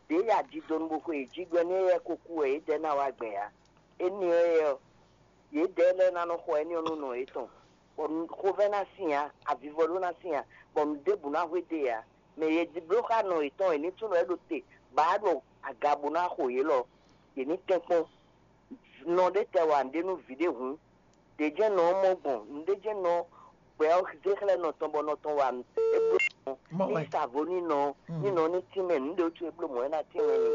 ɖě ya jidonu bó xwe yě jí gbɛ́ nú éyɛ́ ko kú wɛ yědɛɛ ná wá gbɛn ǎ. Énɛ́ ɔ́, yědɛɛ lɛ́ɛ ná nɔ xɔ énɛ́ ɔ́ nú nɔ yětɔn, bɔ xovɛ́ ná sin ǎ, avivɔ ɖó ná sin ǎ, bɔ nǔ ɖěbǔ ná hwe dó yě ǎ. Mɛ e bló xá nɔ yětɔn e ní tunwun wɛ é ɖo te, bɔ á ɖo aga bó ná xo yě lɔ, yě ní tɛ́nkpɔ́n. Nɔ ɖé tɛ wa nǔɖé nú vǐ ɖé hǔn, Ɖě jɛ́n nɔ ɔ́ mɔ gbɔn, nǔɖé jɛ́n nɔ gbɛ ɔ́ zé xlɛ́ nɔ tɔn bɔ nɔ tɔn wa é bló mɔ̌. Ní sa vo ní nɔ, ní nɔ ní tínmɛ nǔɖé wútu é bló mɔ̌ é ná tínmɛ ni.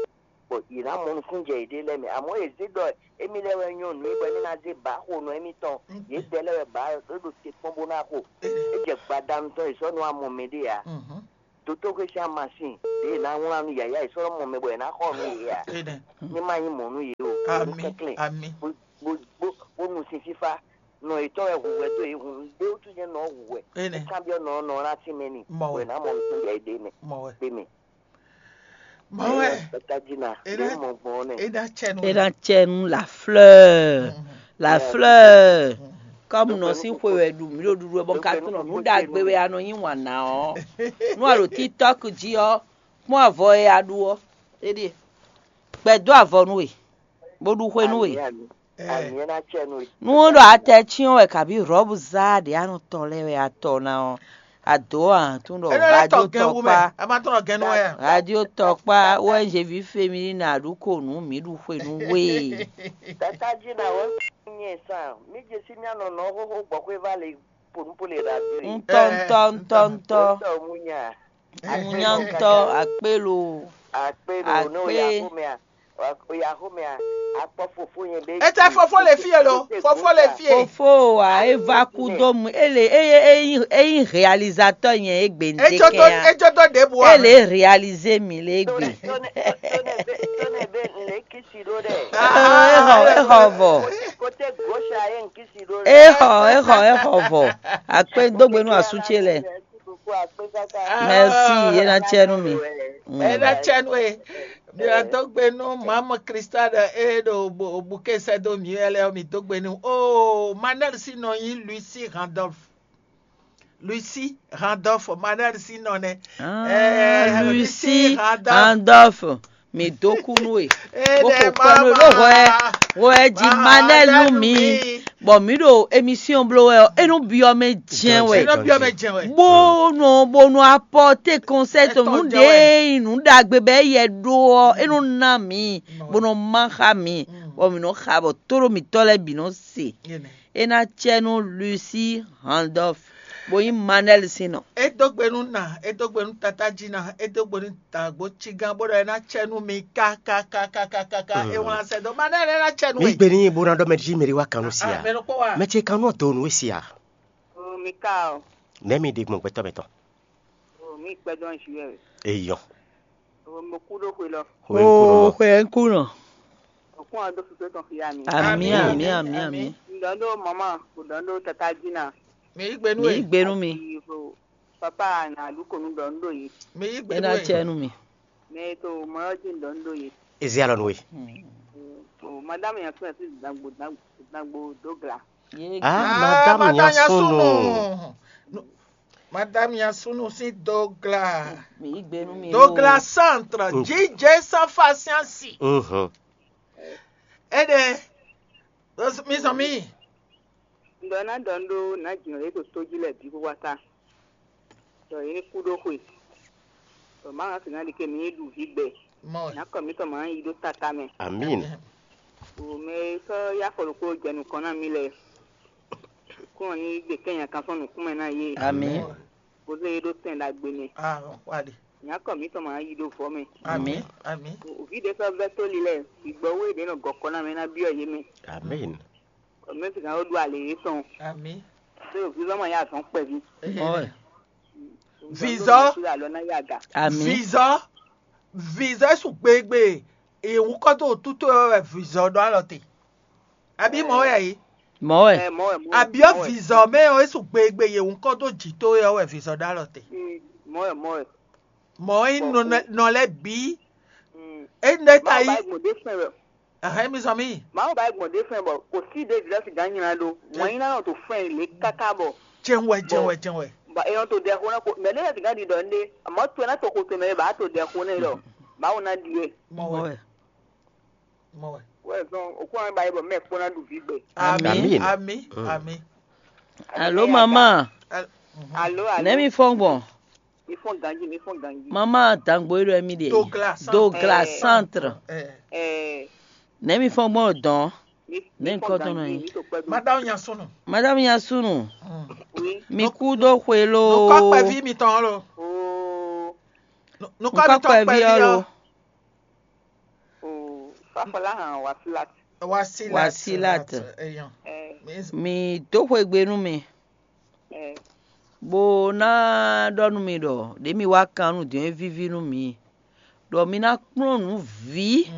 Bɔ yě ná mɔ nukúnnú jɛ yěɖée lɛ́ɛ mɛ. Amɔ̌ yě zé ɖɔ émí lɛ́ɛ wɛ nyɔ́ nǔ é bɔ émí ná zé bǎ xo nɔ émítɔn. Yě dɛ lɛ́ɛ wɛ bǎ é ɖo te kpɔ́n bó ná xo. É jɛ gbadanu tɔn yě sɔ́ nú amɔ mɛɖée ǎ. Dotóxwé sín amasin ɖě è nǎ wlán nú yǎyá yě sɔ́ nɔ mɔ mɛ bɔ è nǎ xɔ nú yě ǎ. Ní má nyí mɔ̌ nú yě o. Nǔ kɛnklɛ́n bó bó bó nu sin fífá. Nɔ yětɔn wɛ hu hwɛ dó yě hun ɖé wútu nyɛ nɔ hu hwɛ. É kanbyɔ́ nɔ ɔ́ nɔ ɔ́ ná tínmɛ n'i. Bɔ è nǎ mɔ nukúnnú jɛ yěɖée mɛ. Mɔwɛ. Ɖé mɛ. Mɔwɛ. Tatájina ɖě mɔ gbɔn ɔ́ nɛ. É ná cɛ nú É ná cɛ nú la fleur. La fleur. Kɔmu nɔ sín xwe wɛ ɖu mǐ ɖo ɖuɖu wɛ bɔ un ka tunɔ nǔ ɖagbe wɛ a nɔ nyi wǎn ná ɔ́. Nú a ɖo TikTok jí ɔ́, kpɔ́n avɔ e a ɖu ɔ́. Éɖíe. Gbɛ dó avɔ nú we, bó ɖu xwe nú we. Ami ami ami ɛ ná cɛ nú we. Nú ɖɔ atɛ cyɔ́n wɛ kabí rɔ̌bu zá ɖě a nɔ tɔ lɛ́ɛ wɛ a tɔ ná ɔ́, a dǒ a tún ɖɔ É nɔ lɛ́ tɔ radio gɛn wú mɛ. Tɔkpa A ma tɔ́ nɔ gɛn nú wɛ a? Radio tɔkpa wɛ jevi féminin a ɖu ko nú mǐ ɖu xwe nú we. Tata jí na wɛ nyɛ san. Mi je si mia nɔ nɔ xoxo gbɔ xwe va le ponu po le radio yi. Ŋutɔ ŋutɔ ŋutɔ ŋutɔ. Tɔ mu nya. Munya ŋutɔ akpelo. Akpe lo no ya Akpe. Xo mɛ a? Wa- Ya xo mɛ a? Akpɔ fofo yẹn bɛ. Etɛ fofo le fie lo, fofo le fie. Fofo wa e va kú dó mu ele eye eyin eyin réalisateur yẹn egbe Ejo to ndekɛ a. Ejo to de bu a. Ele réaliser mi le egbe. Tone tone be tone be le kisi ɖo ɖe. Ehɔ ehɔ vɔ. Kote gosha ye n kisi ɖo ɖe. Ehɔ ehɔ ehɔ vɔ. Akpe dogbe nu asu ce lɛ. Merci beaucoup akpe kaka. Merci ye na cɛ nu mi. Mm. Ena cɛnwe. Mi wá dó gbe nú Mamu Krista ɖe e ɖo bukɛ sɛ́ dó mǐ wɛ lɛ́ɛ ɔ́, mi dó gbe nú. Oh, Manuel sín nɔ nyí Lucy Randolph. Lucy Randolph, Manuel sín nɔ nɛ. Ah, Eh, Lucy Lucy Randolph. Randolph, mi dó kú nú e. Eh, Bó xo kpɛ́ nú e ló hwɛ hwɛ jí Manuel nú mi. Bɔ mǐ ɖo émission bló wɛ ɔ́, é nú byɔ́ mɛ jɛ́n wɛ. Énɔ byɔ́ mɛ jɛ́n wɛ. Bónú bónú apporter conseil tɔn nǔ ɖě nyi nǔ ɖagbe bɔ é yɛ ɖó ɔ́, é nɔ ná mǐ, bó nɔ má xá mǐ, bɔ mǐ nɔ xa bɔ tóɖó mǐtɔn lɛ́ɛ bǐ nɔ se. É ná cɛ nú Lucy Randolph, bó nyí Manuel sín nɔ. É dó gbe nú nà, é dó gbe nú tatá jí ná, é dó gbe nú dǎgbó cígán bó ɖɔ é ná cɛ nú mi kákákákákáká. É wlán sɛ dó Manuel é ná cɛ nú Mi we. Gbe ní bó ná ɖɔ mɛ jí mɛ ɖé wá kan nú si a? Mɛ ɖokpó wa. Mɛ ce kan nú ɔ́ do nǔ e si a? O mi ka o. Nɛ̌ mi ɖe gbɔn gbɛtɔ́ mɛ tɔn? O mi kpɛ dɔn zi wɛ. Eyɔ. O mo kú ɖó xwe lɔ. Xwe ń kú nɔ. O kún ɔ́ dó fífé tɔn xia mi. Ami ami ami ami. Ŋdɔ ɖó mama, o dɔn ɖó tata dina. Mi yí gbe nú Mi e. Gbenu mi. Ivo papa na ɖu konu dɔn ɖó yi. Mi yí gbe Ena nú e. Cɛ nu mi. Mɛ to mɔ ɔ́ dzi dɔn ɖó yi. Ezi alɔ nú we. O madame ya fún ɛ sí dagbo dagbo dagbo dó gla. Ye Ah, Ah, madame madame Yasunu. Yasunu. No, madame Yasunu sín dogla. Mi yí gbenu mi. Dogla o. Centre, Mm. J J sans facience. Mhm. Ede, mi sɔn mi. Ŋdɔ ná dɔn ɖó ná jǐnɔ yě to tó jí lɛ bǐ xóxó ata. Dɔ yě ní kú ɖó xwe. Dɔ má ŋá sǐ ná ɖi ke mi ní ɖu vǐ gbɛ. Mɔ. Ná kɔ mǐtɔn má yi ɖó tata mɛ. Amin. Wò mɛ e sɔ́ yá afɔ ɖokpó jɛ nukɔn ná mì lɛ. Kún ɔ ní gbe kɛ́n nyakan sɔ́ nǔkún mɛ ná yé. Amin. Bó zé yé ɖó tɛn ɖagbe mɛ. Ah, wá ɖe. Nya kɔ mǐtɔn ma yí ɖó vɔ̌ mɛ. Amǐ. Amǐ. Vǐ ɖé sɔ́ vɛ́ tóli lɛ́ɛ, vǐgbɔ́ wé ɖě nɔ gɔ̌ kɔ ná mɛ ná byɔ́ yě mɛ. Amín. Mɛ sixá ó ɖó alě yětɔn. Amǐ. Ɖó vǐvɔ́ ma yá azɔ̌ kpɛví. Ɔ́. Vǐzɔ́. Alɔ ná yá aga. Amǐ. Vǐzɔ́. Vǐzɔ́ é su gbegbe. È wú kɔ dó wǔtútú ɔ́ wɛ vǐzɔ́ ɖó alɔ te. Abí mɔ̌ wɛ a yě? Mɔ̌ wɛ. Ɛ mɔ̌ wɛ mɔ̌ wɛ. Abyɔ́ vǐzɔ́ mɛ ɔ́, é su gbegbe yě wú kɔ dó jǐ tó é ɔ́ wɛ vǐzɔ́ ɖó alɔ te. Mm, mɔ̌ wɛ mɔ̌ wɛ. Mɔ̌ é nɔ nɔ lɛ́ bǐ. Mm. É nɔ é ta Mawu yí. Ba gbɔn ɖé fɛn wɛ. Ahɛn mi zɔn mí. Mawu ba gbɔn ɖé fɛn bɔ kò sí ɖé vǐzɔ́ sìgá nyina ɖó. Wǎn nyina nɔ to fɛn lě káká bɔ. Jẹun wɛ, jẹun wɛ, jẹun wɛ. Ba e nɔ to ɖɛ xo ná ko mɛ ɖé sìgá ɖi ɖɔ ndé. Àmọ́ to ná to xo to mɛ ba to ɖɛ xo nɛ lɔ. Mawu ná ɖi yɛ. Mɔ̌ wɛ. Mɔ̌ wɛ. Wɛ zɔn òkú àwọn ìbáyé bɔ mɛ kpó ná ɖu vǐ gbɛ. Amí. Amí. Amí. Mm. Amí. Alo mama. Al- mhm. Alo alo. Nɛ mi fɔn gbɔn. Mi fɔn ganji mi fɔn ganji. Mama dangbo yi ɖo mi de. Dogla centre. Dogla Eh. Centre. Eh. Eh. Nɛ mi fɔn gbɔn dɔn. Mi Nɛ̌ nyǐkɔ tɔn nɔ nyí? Madame Nyasunu. Madame Nyasunu, Oui. mi kú dó xwe lo. Nukɔ kpɛví mitɔn lo. Oh, Nukɔ Nukɔ mitɔn kpɛví kpɛví ɔ́ ɔ́. lo. Oh, Fafala hàn Wasilat. Wasilat. Wasilat. Eyɔn. Eh, Mi dó xwegbe nú mi, eh, bó ná ɖɔ nú mi ɖɔ ɖě mi wá kan nú din é víví nú mi, ɖɔ mi ná kplɔ́n nǔ vǐ